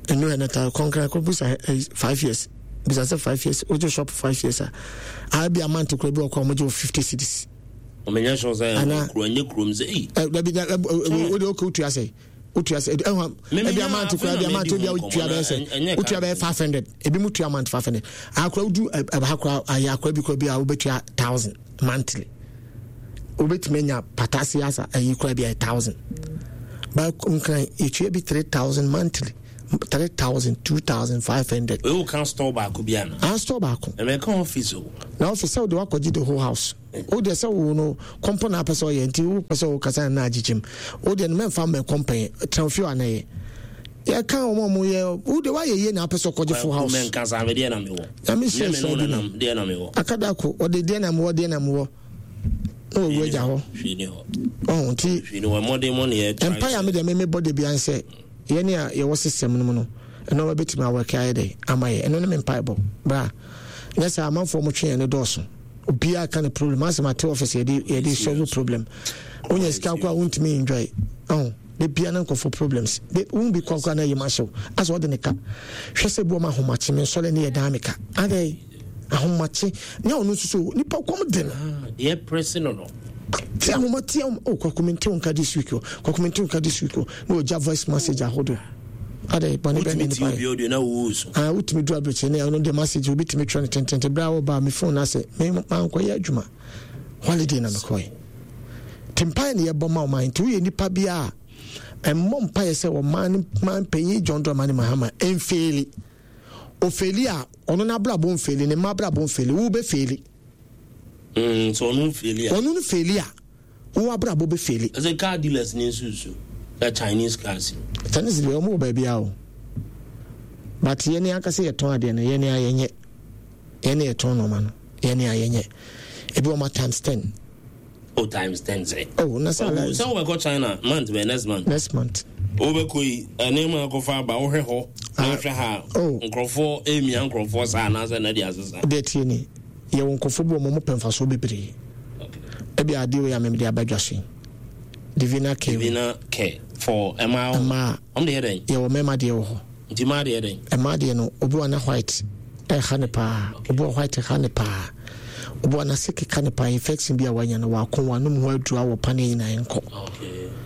ɛnu 100,000 kɔnkran kɔ bisa 5 years bisa sɛ 5 years wogye shop 5 years a a bi amount kura bi wɔ kɔ a wɔgye wɔ 50 cedis. Ɔmɛnyɛ sure sɛ kuro ɛnyɛ kurom sɛ eyi. Ɛ dabi na ɛ o de o kò otua sɛ otua sɛ ɛhɔn ebi amount kura ebi amount ebi otua bɛyɛ sɛ otua bɛyɛ 500 ebi mu tua amount 500 akora odu ɛba akora ayɛ akora bi kora bi a wobɛtua 1,000 monthly wobɛtumi anya patase asa ayi kora bi a 1,000. Ba Nkran yɛtua bi 3000 monthly. 3000, 2500. Wei wo ka store baako bi ana? Ah, store baako. Ɛmɛ ka office o. Na office sɛ wode wakɔgye the whole house. Wo deɛ sɛ wo no kɔmpɔ na apɛ sɛ ɔyɛ nti wo pɛ sɛ wo kasa na agyekyem. Wo deɛ no mɛmfa mmɛ kɔmpɛn tena fie ana yɛ. Yɛka wɔn a wɔn yɛ wo deɛ wayɛ yie na apɛ sɛ ɔkɔgye full house. Mɛnka saa me deɛ na mewɔ. Nyame hyɛ hyɛ bi no. Deɛ na mewɔ. Akadako ɔde deɛ na mewɔ deɛ na mewɔ. Na wɔwu agya hɔ. Hwee ni hɔ. Ɔho nti. Hwee ni hɔ mmɔden mɔ ne yɛ. Mpa yɛ a me deɛ me mebɔ de bia nsɛ yɛne a yɛwɔ system no mu no nneɛma bɛtumi awɔke ayɛ dɛ ama yɛ ɛno ne me mpaebɔ bra nyɛ sɛ amanfoɔ mo twe yɛn no dɔɔso obiara ka ne problem asɛm ate office yɛde yɛde solve problem wonya sika kɔ a wontumi enjoy ɔho de bia na nkɔfo problems de wo bi kɔ kora na yɛ ma hyew asɛ ɔde ne ka hwɛ sɛ bi ɔma ahomakye me nsɔre ne yɛ dan me ka adɛn ahomakye ne ɔno nso so nipa kɔm de no ah, deɛ prɛse no no ti ahoma ti ahoma oh kwaku mente wo nka this week o kwaku mente wo nka this week o na ɔgya voice message ahodoɔ adɛ bɔne bɛ ne nipa yɛ ah wotumi du abirekyɛ ne ɛno de message obi tumi twerɛ no tentente berɛ a wɔba me phone no asɛ me mankɔyɛ adwuma holiday na mekɔɛ nti mpaeɛ ne yɛbɔ ma ɔman nti woyɛ nipa bi a ɛmmɔ mpaeɛ sɛ ɔman no man panyin John Dramani Mahama ɛmfeeli ofeeli a ɔno n'abrabɔ mfeeli ne mma abrabɔ mfeeli wo bɛ feeli. So ɔno feeli a. Ɔno no feeli a wo abrabɔ bɛ feeli. Ɛsɛ car dealers ne nsusu na Chinese cars. Chinese deɛ wɔn wɔ baabi a o but yɛn ni ankasa yɛtɔn adeɛ no yɛn ni a yɛnyɛ yɛn ni yɛtɔn nneɛma no yɛn ni a yɛnyɛ ebi wɔn ma times ten. Oh times ten sɛ. Oh na sɛ ala. Sɛ wobɛkɔ China month bɛ next month. Next month. Wobɛkɔ yi nneɛma akɔfa aba wohwɛ hɔ na ah. wohwɛ ha. Oh. Nkurɔfoɔ emia nkurɔfoɔ saa anaasɛ na de asesa. Deɛ tie ni yɛwɔ nkurɔfoɔ bi wɔn pɛ mfasoɔ bebree. Ebi adeɛ wei a mɛmɛ de aba dwa so yi. Divina care. Divina care for ɛmaa. Ɛmaa. Wɔn de yɛ dɛn. Yɛwɔ mɛma deɛ wɔ hɔ. Nti mmaa deɛ dɛn? Mmaa deɛ no, obi wɔ na white ɛha ne paa, obi wɔ white ha ne paa, obi wɔ n'ase keka ne paa, infection bi a wanya no wako wanom ho aduru awɔ paneɛ nyinaa nkɔ.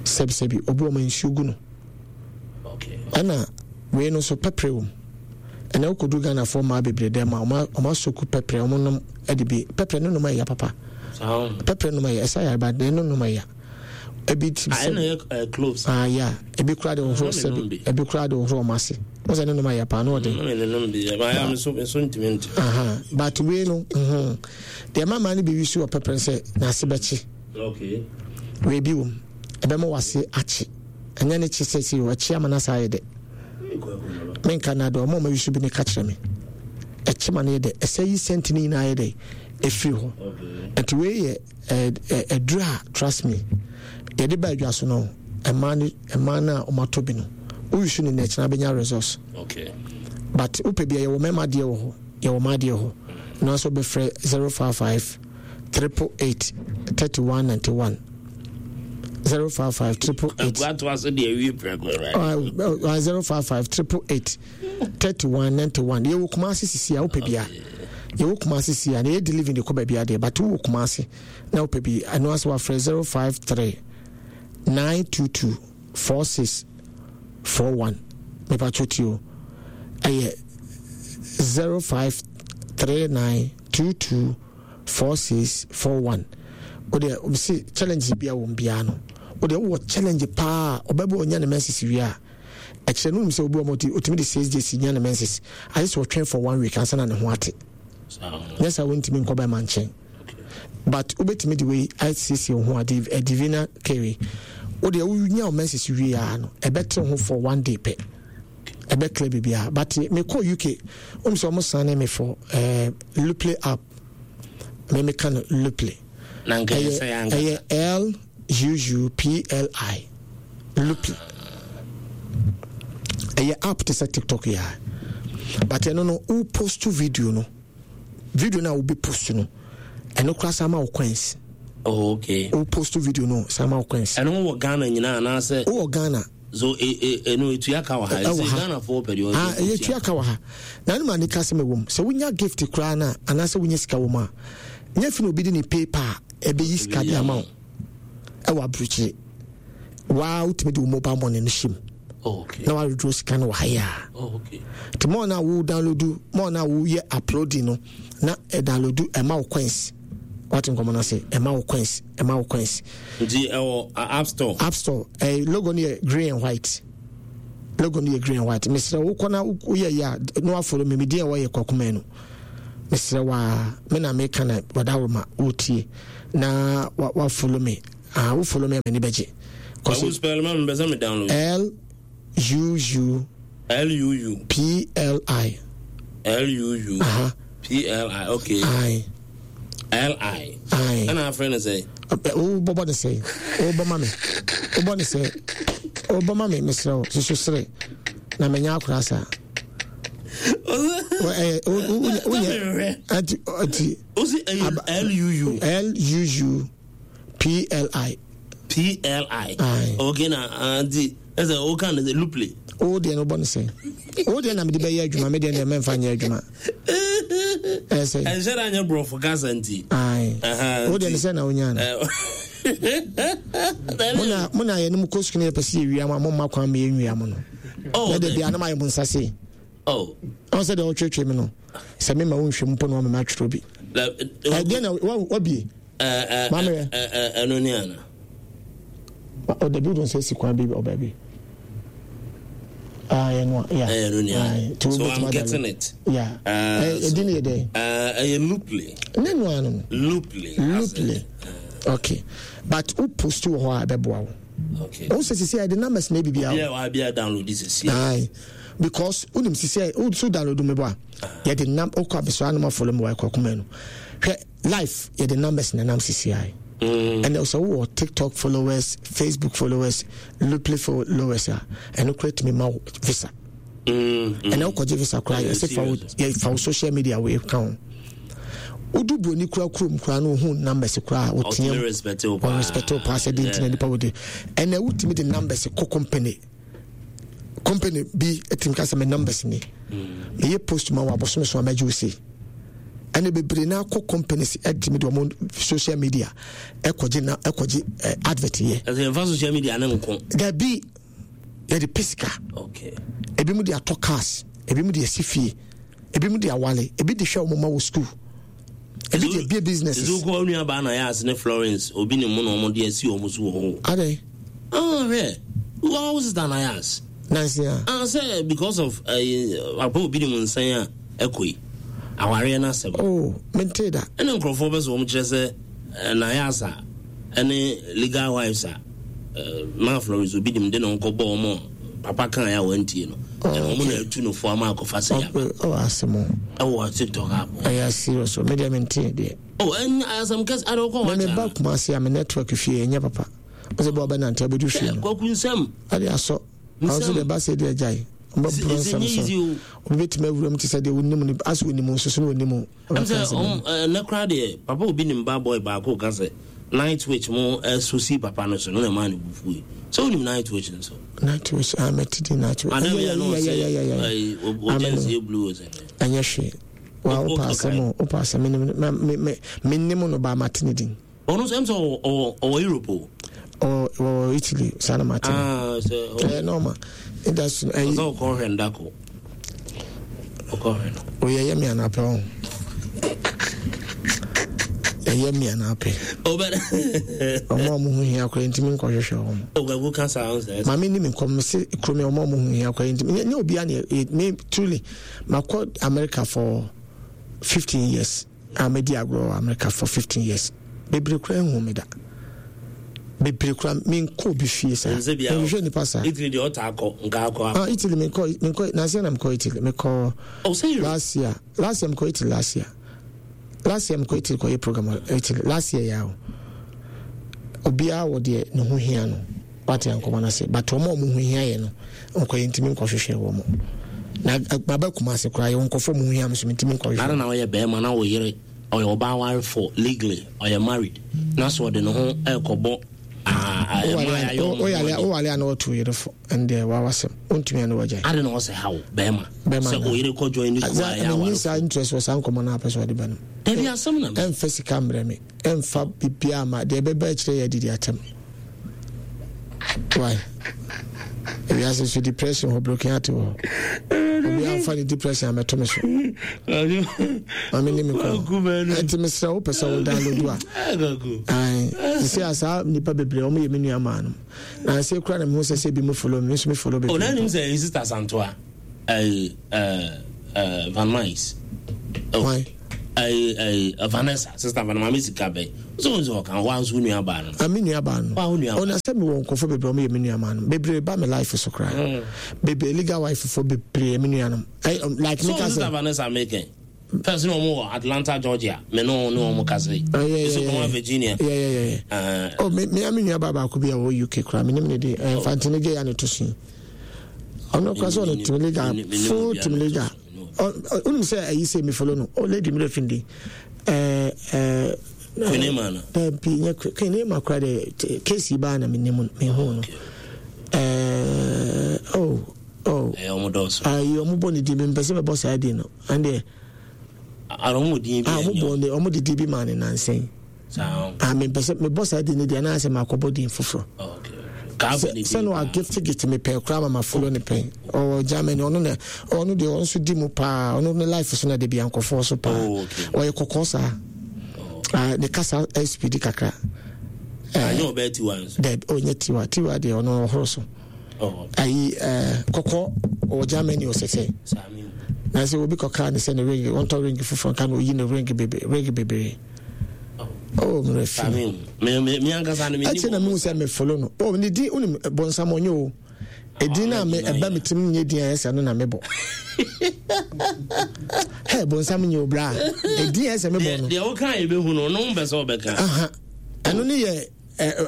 Sɛbisɛbi, obi wɔ ma nsuo gu no. Ɛna wei no nso pɛprɛ wɔ mu. Ɛna wokɔdu Ghanafoɔ mmaa bebree dɛm a ɔma asoku pɛprɛ, ɔmo nom ɛde bi pɛprɛ no nom ɛya papa. Pɛprɛ nom ɛya, ɛsa yareba deɛ no nom ɛya. Ebi ti sɛ ɛna yɛ cloves. Ah yeah, ebi kura de hohoro sɛbi, ebi kura de hohoro ɔmo ase. Wɔn sɛ ne nom ayɛ paa na ɔde. Ne nom bi yɛ, maa mi so mi so ntumi nti. Aha, but wei no, mhm, deɛ mama no bi wi so wɔ pɛpɛrɛ sɛ n'ase bɛkye. Okay. Wei bi wɔm, ɛbɛma w'ase akye. Ɛnyɛ ne kye sɛ si o, ɛkye ama n'ase ayɛ dɛ. Menka na de ɔmo ɔmo wi so bi ne ka kyerɛ me. Ɛkye ma no yɛ dɛ, ɛsɛ yi sɛnti ne nyinaa yɛ dɛ efiri hɔ. Nti wei yɛ. Aduru a trust me yɛde ba adwa so no mmaa no mmaa no a wɔatɔ bi no woyi so ne na ɛkyena bɛnya results okay. but wopɛ bia yɛwɔ mmarima deɛ wɔ hɔ yɛwɔ mmaa deɛ hɔ na nso bɛfrɛ 055 888 3191 055 888 055 888 3191 yɛwɔ Kumasi sisi a wopɛ bia yɛwɔ Kumasi si a na yɛ delivery de kɔ baabi adeɛ but wowɔ Kumasi na wopɛ bi ɛno ase wafrɛ 053 922 46 41 mepatwo tio ɛyɛ 053922 4641 wodeɛ ɔmsi challenge bia wɔm biara no wodeɛ wowɔ challenge paa ɔbɛbɛ ɔnya ne mɛsisi wie a Ɛkyerɛ no wonim sɛ obi wɔ hɔ ɔtumi de 6 days nya ne menses agye sɛ ɔtwɛn for one week ansa na ne ho ate nyɛ saa wontumi nkɔ bɛma nkyɛn but wobɛtumi de wei asiesie wo ho a eh, divina carry wodeɛ wonya wo menses wie a no ɛbɛte ho for one day pɛ ɛbɛclear biribiara but mekɔ uk wonim sɛ ɔmo sane me for eh, luple app me meka no luple ɛyɛ l U-U-P-L-I, Loopy. Ɛyɛ app te sɛ TikTok yi a. But ɛno no, wo post video no, video no a wobɛ post no, ɛno koraa saa ma wo coins. Oh, okay. Wo post video no, saa ma wo coins. Ɛno wɔ Ghana nyinaa anaasɛ? Wowɔ Ghana. So ɛno etua ka wɔ ha? Ɛwɔ ha. Ghana foɔ pɛ deɛ ɔyɛ. Ah, ɛyɛ tua ka wɔ ha. Na ɛno ma nika sɛ mɛwɔ mu. Sɛ wonya gift koraa no a, anaasɛ wonya sika wɔ mu a, nyɛ fi na obi de ne PayPal ɛbɛyi sika de ama wo ɛwɔ aburokyire waa wotumi de wo mobile money no hyɛ mu oh, na wareduro sika no wɔ ha yi a oh, nti mɔɔ no a wo download mɔɔ no a woyɛ uploading no na ɛdownload ɛma wo coins. Wate nkɔmmɔ no ase? Ɛma wo coins, ɛma wo coins. Nti ɛwɔ app store. App store. Eh, logo no yɛ green and white. Logo no yɛ green and white. Mesrɛ wo kɔ na woyɛ yɛ a na wafolo me. Medin a ɛwɔ yɛ Kwaku no. Mesrɛ wa me na meka na wadaworo ma wotie na wafolo me. Ah, wo follow me a m'ani bɛgye. Kwaku spell ma me bɛsɛ me download. L U U. L U U. P L I. L U U. Aha. P L I okay. I. L I. I. Ɛna afrɛ no sɛ. Wo bɔbɔ ne sɛ. Wo bɔ ma me. Wo bɔ ne sɛ. Wo bɔ ma me mesrɛ wo soso sere na menya akora saa. Wonyɛ. Ati ati. Osi L U U. L U U. P L I. P L I. Aye. Okay na anti ah, ɛsɛ o kan sɛ luple. O deɛ no bɔ ne sɛn. O deɛ na mede bɛyɛ adwuma me deɛ deɛ mɛmfa nyɛ adwuma. Ɛsɛ. Ɛnhyɛ da nyɛ borɔfo kasa nti. Aye. O deɛ ne sɛ na onya no. Mo na mo na yɛn mu kɔ sukuu na yɛpɛ sɛ yɛwia mo a mo mma kwan ma yɛnwia mo no. Oh, Na de bia na mayɛ mo nsa sei. Oh. Ɔn sɛ deɛ ɔtwetwe me no sɛ mema wo nhwɛ mu mpo na wama matwerɛ bi. Ɛdeɛ na wabie. Maame yɛ. Ɛno ni ana. Ɔda bi wodon sɛ si kwan bi ɔbaa bi. Ah, ɛno a, yeah. Ɛno ni ana. So I'm getting it. Yeah. Ɛdi ni yɛ dɛ. Ɛyɛ looply. Ne no ano no. Looply. Looply. Okay. But wo post wɔ hɔ a ɛbɛboa wo. Okay. Wo sɛ sisi a yɛde numbers na ebi bia. Obi a wa bi a download sisi. Aye. Because wonim sisi a wo so download me bɔ a yɛde nam okɔ abɛsɔ anam afɔlɔ mu wɔ ɛkɔ kuma no. Hwɛ life yɛde numbers na nam sisi ayi ɛnna sɛ wowɔ tiktok followers facebook followers lupli followers a ɛno kora tumi ma wo visa ɛnna wokɔgye visa koraa yɛsɛ fa wo fa wo social media wei ka ho wodu buroni kura kurom koraa na ohun numbers koraa woteam ɔrespect wo paa sɛ de ntina nipa wode ɛnna wotumi de numbers kɔ company company bi tumi ka sɛ me numbers ni meyɛ post ma wɔ abosome so a mɛgye wo sei ɛne bebree na akɔ companies ɛtumi de wɔn social media ɛkɔgye na ɛkɔgye eh, advert yɛ. ɛsɛ yɛn fa social media ne nko. dabi yɛde pɛ sika. okay. ebi mu de atɔ cars ebi mu de asi fie ebi mu de awale ebi de hwɛ wɔn ma wɔ school ebi de ebie businesses. Ezu kɔ onua baa na yɛ ase ne Florence obi ne mu na wɔn de asi wɔn so wɔ hɔ. Adɛn. Ah hwɛ wɔn wo sista na yɛ ase. Nansi a. Ah sɛ because of ɛɛ eh, apa obi ne mu nsɛn a ɛkɔ yi awareɛ no asɛm. Oh mente da. Ɛna nkurɔfoɔ bɛ sɛ wɔn kyerɛ sɛ eh, na yɛ asa ɛne legal wives a eh, maa Florence obi nim de ne ho kɔ bɔ wɔn papa kan yɛ a wɔntie no. Oh, ɛna wɔn na atu no fo ama akɔfa sɛ yaba. Oh asɛm. Ɛwɔ TikTok app. Ɛyɛ serious o me deɛ mente deɛ. Oh ɛn asɛm kɛse ada wokɔ wɔn. Mɛ me ba Kumasi a me network fie ɛnyɛ papa. Ɔsɛ bɔ ɔbɛ nante abɛdu fie no. Kwaku nsɛm. Ade asɔ. Ɔsɛ deɛ ba sɛ deɛ agyae. Ɔbɛ bro nsɛm so. Obi bɛtumi awura mu te sɛ deɛ onim no asɛ onim nso so na onim o. Ɛm sɛ ɔm ɛnɛ koraa deɛ papa obi nim ba boy baako ka sɛ night witch mo ɛso si papa no so no na ɛmaa ne bu fui. Sɛ onim night witch nso. Night witch ah mɛte di night witch. Madam yɛ no ɔsɛ ɔgyɛ nsie blue ɔsɛ. Ɛnyɛ hwee. Wa wopɛ asɛm o wopɛ asɛm menim menim no ba mate ne din. Ɔno nso ɛm sɛ ɔwɔ ɔwɔ Europe o. Ɔwɔ ɔwɔ Italy saa na mate no. Ah sɛ. Ɛyɛ normal industry no ɛyi. Ɔsɛ ɔkɔ hwɛ ndako. Ɔkɔ hwɛ no. Oyɛ yɛ mi anapɛ ɔn. Ɛyɛ mi anapɛ. Ɔbɛ. Ɔmo a ɔmo ho hia koraa ntumi nkɔ hwehwɛ wɔn. Ɔgbɛgu kasa ɔn sɛ. Maame ni mi nkɔm mi se kurom yɛ ɔmo a ɔmo ho hia koraa ntumi nye obi a ne me truly makɔ America for 15 years. A madi agorɔ wɔ America for 15 years. Bebree koraa nhu me da. Bebree koraa menkɔ obi fie saa. Menhwehwɛ nipa saa. Italy deɛ ɔtaa kɔ nka akɔ. Ah Italy menkɔ menkɔ nansi na mekɔ Italy mekɔ. Oh sɛ Last year last year mekɔ Italy last year last year mekɔ Italy kɔyɛ program wɔ Italy last year ya o. Obiara wɔ deɛ ne ho hia no. Wate nkɔmɔ no ase but wɔn a wɔn ho hia yɛ no nkɔ yɛ ntumi nkɔhwehwɛ wɔn na maba Kumasi koraa yɛ nkɔfo wɔn ho hia me so ntumi nkɔhwehwɛ. Nara na ɔyɛ bɛrima na wo yere ɔyɛ ɔbaa warefo legally ɔyɛ married na so ɔde ne ho ɛkɔbɔ wowale a na wɔto yere fo ɛndeɛ wawasɛm wontumi a ne wagyae. Ade na ɔsɛ haw bɛrima sɛ oyere kɔ join ne kuo a ɛyɛ awarefo. Saa interest wɔ saa nkɔmɔ no apɛ sɛ ɔde ba no. Dabi asɛm na. Ɛmfa sika mbrɛ me. Ɛmfa biribiara ma deɛ ɛbɛba akyire yɛ adidi atɛm. Why? Ewiase so depression hɔ broken heart wɔ hɔ. Obi amfa ne depression amɛto me so. Ma me ne me kɔ. Ɛnti mesrɛ wo pɛ sɛ wo download a. Ae. Sisi a saa nipa bebree wɔn yɛ me nua maa no. Na nse kura na mehu sɛ sɛ bi mo follow me nso me follow bebree. Ɔna nim sɛ sister Santoa. Ɛɛ ɛɛ Van Mice. Why? Ɛɛ ɛɛ Vanessa sister Vanessa maame sika bɛn. So nso ɔka wa nso nua baa no. Ah me nua baa no. Wa wo nua. Ɔna sɛ me wɔ nkurɔfoɔ bebree ɔmo yɛ me nua maa no. Bebree ba me life so koraa. Mm. Bebree legal wife fo bebree me nua nom. Ɛy like me ka sɛ. So sister Vanessa mekɛn. First na ɔmo wɔ Atlanta Georgia me ne ne ɔmo kasa yi. Oh, yeah, yeah, yeah. Virginia. Yeah, yeah, yeah. yeah. Uh, oh, me me me nua baa baako bi a ɔwɔ UK koraa me ne me ne de ɛnfa eh, ntene gye ya ne to so yi. Ɔno koraa sɛ ɔno team leader full team leader. Wonim sɛ ayi sɛ me follow no. Oh lady me refin din. Eh eh Queen no. Dabi nyɛ Queen Emma koraa de case baa na me nim me hu no. Eh oh oh. Ɛyɛ ɔmo dɔɔso. Ayi ɔmo bɔ ne din mi mpɛ sɛ mɛbɔ saa din no. Ɛndeɛ. Ara ɔmo din bi. Ah ɔmo bɔ ne ɔmo de din bi maa ne nansen. Saa. Ah mempɛ sɛ mebɔ saa din no deɛ anaasɛ makɔbɔ din foforɔ. Okay. Sɛ no agifte gifte me pɛɛ koraa ma ma follow ne pɛn. Ɔwɔ Germany ɔno na ɔno deɛ ɔno nso di mu paa ɔno ne life so na de bi ankɔfoɔ so paa. Oh, okay. Ɔyɛ kɔkɔɔ saa. Oh. Ah ne kasa speed kakra. Anyɛ ɔbɛɛ tiwa nso. Dɛbi ɔnyɛ tiwa tiwa deɛ ɔno ɔhoro so. ayi ɛɛ kɔkɔ ɔwɔ germany ɔsɛsɛ na sɛ obi kɔkaa ne sɛ ne ring ɔntɔ ring foforɔ nka na oyi ne ring bebree ring bebree oh mmerɛ fi ɛkyɛ na mehu sɛ mefolo no oh ne din wonim bɔnsam ɔnyɛ o ɛdin no a me ɛba me tirim nyɛ din a ɛsɛ no na mebɔ hɛ bɔnsam nyɛ o bra ɛdin a ɛsɛ mebɔ no deɛ woka yɛbɛhu no no wompɛ sɛ wobɛka ɛno ne yɛ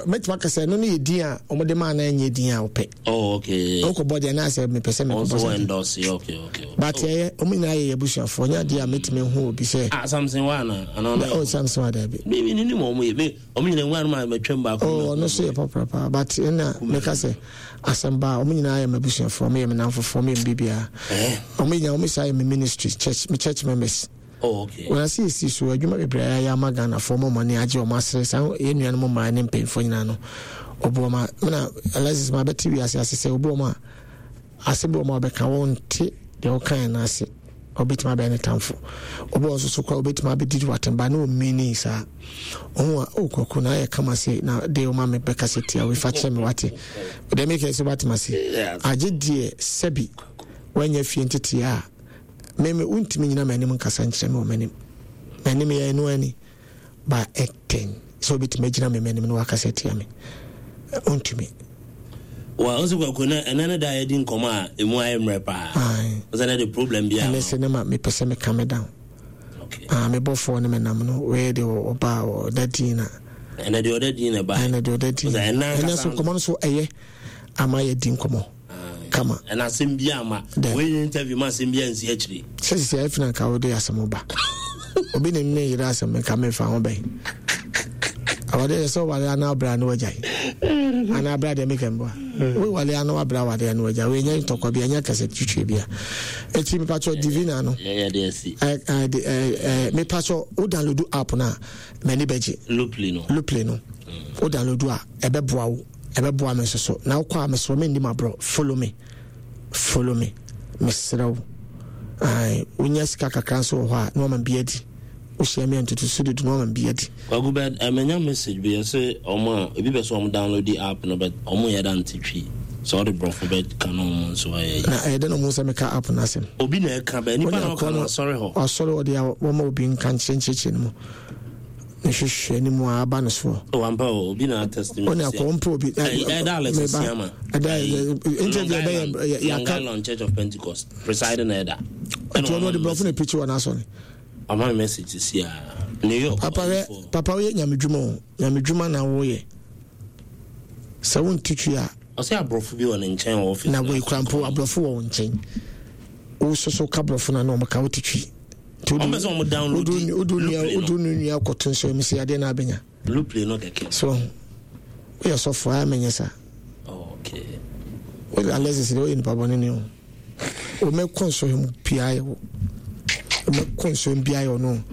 mɛtumi aka sɛ ɛno no yɛ din a wɔde maa na ɛnyɛ din a wɔpɛ. Oh, okay. Wokɔbɔ deɛ na sɛ mepɛ sɛ mekɔbɔ sɛ. endorse, okay, okay. But ɛyɛ wɔn nyinaa yɛ abusuafoɔ nyɛ adeɛ a mɛtumi ahu obi sɛ. Ah, Samson wa na ana ɔno. Oh, Samson wa daabi. Mi mi ni mu wɔn yɛ mi wɔn nyinaa nwa anum a mɛtwam baako. Oh, ɔno nso yɛ pɔpɔrɔ paa but ɛna mɛka sɛ asɛm ba wɔn nyinaa yɛ m'abusuafoɔ wɔn yɛ me namfofoɔ wɔn yɛ me biribiara. Wɔn nyinaa wɔn saa yɛ me ministry church me church members. Oh, okay. Wɔn ase esi so adwuma bebree a yɛayɛ ama Ghanafoɔ ma wɔn ani agye wɔn asere saa yɛn nuanom mmaa ne mpanyinfoɔ nyinaa no obu wɔn a mena Alexis ma bɛte wiase ase sɛ obu wɔn a asɛm bi wɔn a wɔbɛka wɔn nte deɛ wɔka yɛn ase ɔbɛtumi abɛyɛ ne tamfo obi wɔn nso so kora ɔbɛtumi abɛdidi watemba ne ɔmini saa ɔho a oh kɔkɔ na ayɛ kama se na de ɔma me bɛka sɛ tia wefa kyerɛ me wate deɛ meka sɛ watem ase agye deɛ sɛbi wanya fie nteteɛ a Me me wontumi nyina m'anim nkasa nkyerɛ me wɔ m'anim. M'anim yɛ ɛno ani ba ɛden sɛ wobɛtumi agyina me m'anim na wakasa atia me. Wontumi. Wa ɔsɛ kwaku na ɛnɛ ne da yɛdi nkɔmɔ a emu ayɛ mmerɛ paa. Ɔsɛ ne de problem bi ama. Ɛnɛ sɛ ne ma mepɛ sɛ meka me down. Okay. Ah, me bɔfoɔ ne me nam no wei de ɔba ɔda din na. Ɛnɛ deɛ ɔda din na ɛba. Ɛnɛ deɛ ɔda din. Ɛnɛ so nkɔmɔ no so ɛyɛ ama yɛdi nkɔmɔ. kama. Ɛna asɛm bi ama. Wei nyɛ interview ma asɛm bi ansi akyire. Sɛ sisi ayɛ fina nka wode asɛm ba. Obi ne me yere asɛm nka me fa ho bɛn. Awade yɛ sɛ wale ana abra no wagyae. Ana abra deɛ meka mboa. Wo wale ana wabra wade ana wagyae. Wei nyɛ ntɔkwa bi ɛnyɛ kɛsɛ twitwi bi a. Eti mepatwɔ divina no. Mepatwɔ wo download app no a m'ani bɛgye. Looply no. Looply no. Wo download a ɛbɛboa wo. Ɛbɛboa me nso so. Na wokɔ a mesrɛ menni m'aborɔ. Follow me. Follow me. Mesrɛ wo. Ae, wonya sika kakra nso wɔ hɔ a, na wama bi adi. Wohyia me a ntotoso dudu na wama bi adi. Kwaku but eh, manya message bi ɛsɛ ɔmo a ebi pɛ sɛ ɔmo download the app no but ɔmo yɛ da nte twi sɛ ɔde brɔfo bɛ ka na ɔmo nso ayɛ yi. Na ɛyɛ dɛ na ɔmo sɛ meka app no asɛm. Obi na ɛka bɛ nipa na ɔka no asɔre hɔ. Asɔre hɔ deɛ wɔma obi nka nkyerɛ nkyerɛkyerɛ no mu. Ne hwehwɛ ne mu a aba no soɔ. O ampa o obi na atest mi. Ɔne akɔ ɔmpɛ obi. Ɛda Alex Siama. Ɛda interview ɛbɛyɛ yaka. Long Island Church of Pentecost presiding elder. Ɛti ɔno ɔde brɔfo na preach wɔ n'asɔre. Ama mi message si a New York. Papa hwɛ papa woyɛ nyamedwuma o nyamedwuma na woyɛ sɛ wonte twi a. Ɔsɛ aborɔfo bi wɔ ne nkyɛn wɔ office. Na wɔ ekura mpo aborɔfo wɔ wo nkyɛn. Wososo ka borɔfo na na wɔn ka wote twi. Nti wɔn bɛ sɛ wɔn download Looply no. Wodu ne nua kɔto nso ɛmu sɛ adeɛ na abɛnya. Looply no kɛkɛ. So woyɛ sɔfo a menyɛ saa. Oh, okay. Wode Alexis deɛ woyɛ nipa bɔne ne o. Wɔmɛkɔ nsɔhwɛ mu biara yɛ wo. Wɔmɛkɔ nsɔhwɛ mu biara yɛ ɔno.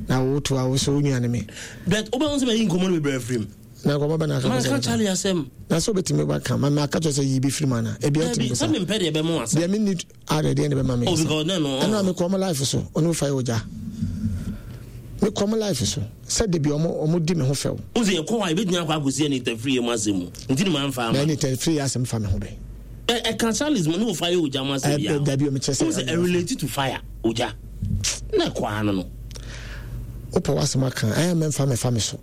Na woto a wo sɛ wo nua ne me. But wobɛhu sɛ mayi nkɔmmɔ no bebree afiri mu. Na nkɔmɔ bɛ na aka. Manka Charlie asɛm. Na sɛ obetumi ba ka ma aka kyerɛ sɛ yi bi firi mu ana. Ebi atumi bisa. Sɛ mempɛ deɛ ɛbɛma asɛm. Deɛ menni ada deɛ na ɛbɛma me. Oh because ne no. Ɛno a mekɔ ɔmo life so ɔno fa yɛ ogya. Mekɔ ɔmo life so sɛ debi ɔmo ɔmo di me ho fɛw. O sɛ yɛkɔ hɔ a ebetumi akɔ akɔsi ɛne tafiri yɛ mu asɛm mu nti ne maa nfa ama. Na ɛne tafiri yɛ asɛm fa me ho bɛ. Ɛka Charles mu ne wo fire ogya mu asɛm bia. Dabi omi kyɛ sɛ. O sɛ ɛrelate to fire ogya na ɛkɔ ano no. Wopɛ w'asɛm aka ɛyɛ mɛmfa mɛfa me so.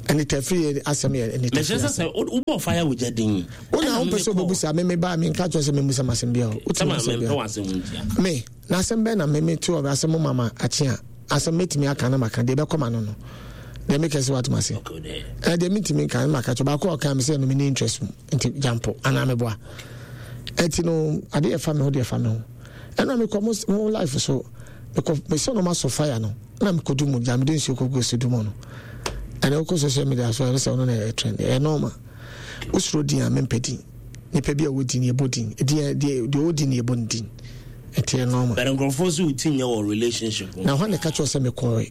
Ɛne tafiri yɛ asɛm yɛ ɛne tafiri asɛm. Mɛkyerɛ sɛ wobɔ fire ogya din. Wo na wopɛ sɛ wobɛbusa me me ba me nka kyerɛ sɛ memmusa m'asɛm bia o. Wotumi asɛm bia. Me na asɛm bɛn na me me te wɔ asɛm mama akye a asɛm mɛtumi aka na maka deɛ ɛbɛkɔ ma no no deɛ mekɛ sɛ woatom ase deɛ mentumi nka na maka kyɛ baako a ɔka me sɛ no mene interest mu nti gyampo anaa meboa ɛnti no adeɛ ɛfa me ho deɛ ɛfa me ho ɛna mekɔ mo life so mekɔ mesɛ no masɔ fire no na mekɔdu mu gya mede nsuo kɔgu so du mu no ɛna wokɔ social media so ɛne sɛ ɔno na ɛyɛ trend ɛyɛ normal wosuro din a mempɛ din nipa bi a ɔwɔ din yɛbɔ din deɛ deɛ ɔwɔ din yɛbɔ ne din ɛte ɛyɛ normal. Bɛrɛ nkurɔfoɔ sɛ wo ti nyɛ wɔ relationship na hɔ na ɛka kyerɛ sɛ mekɔɛ.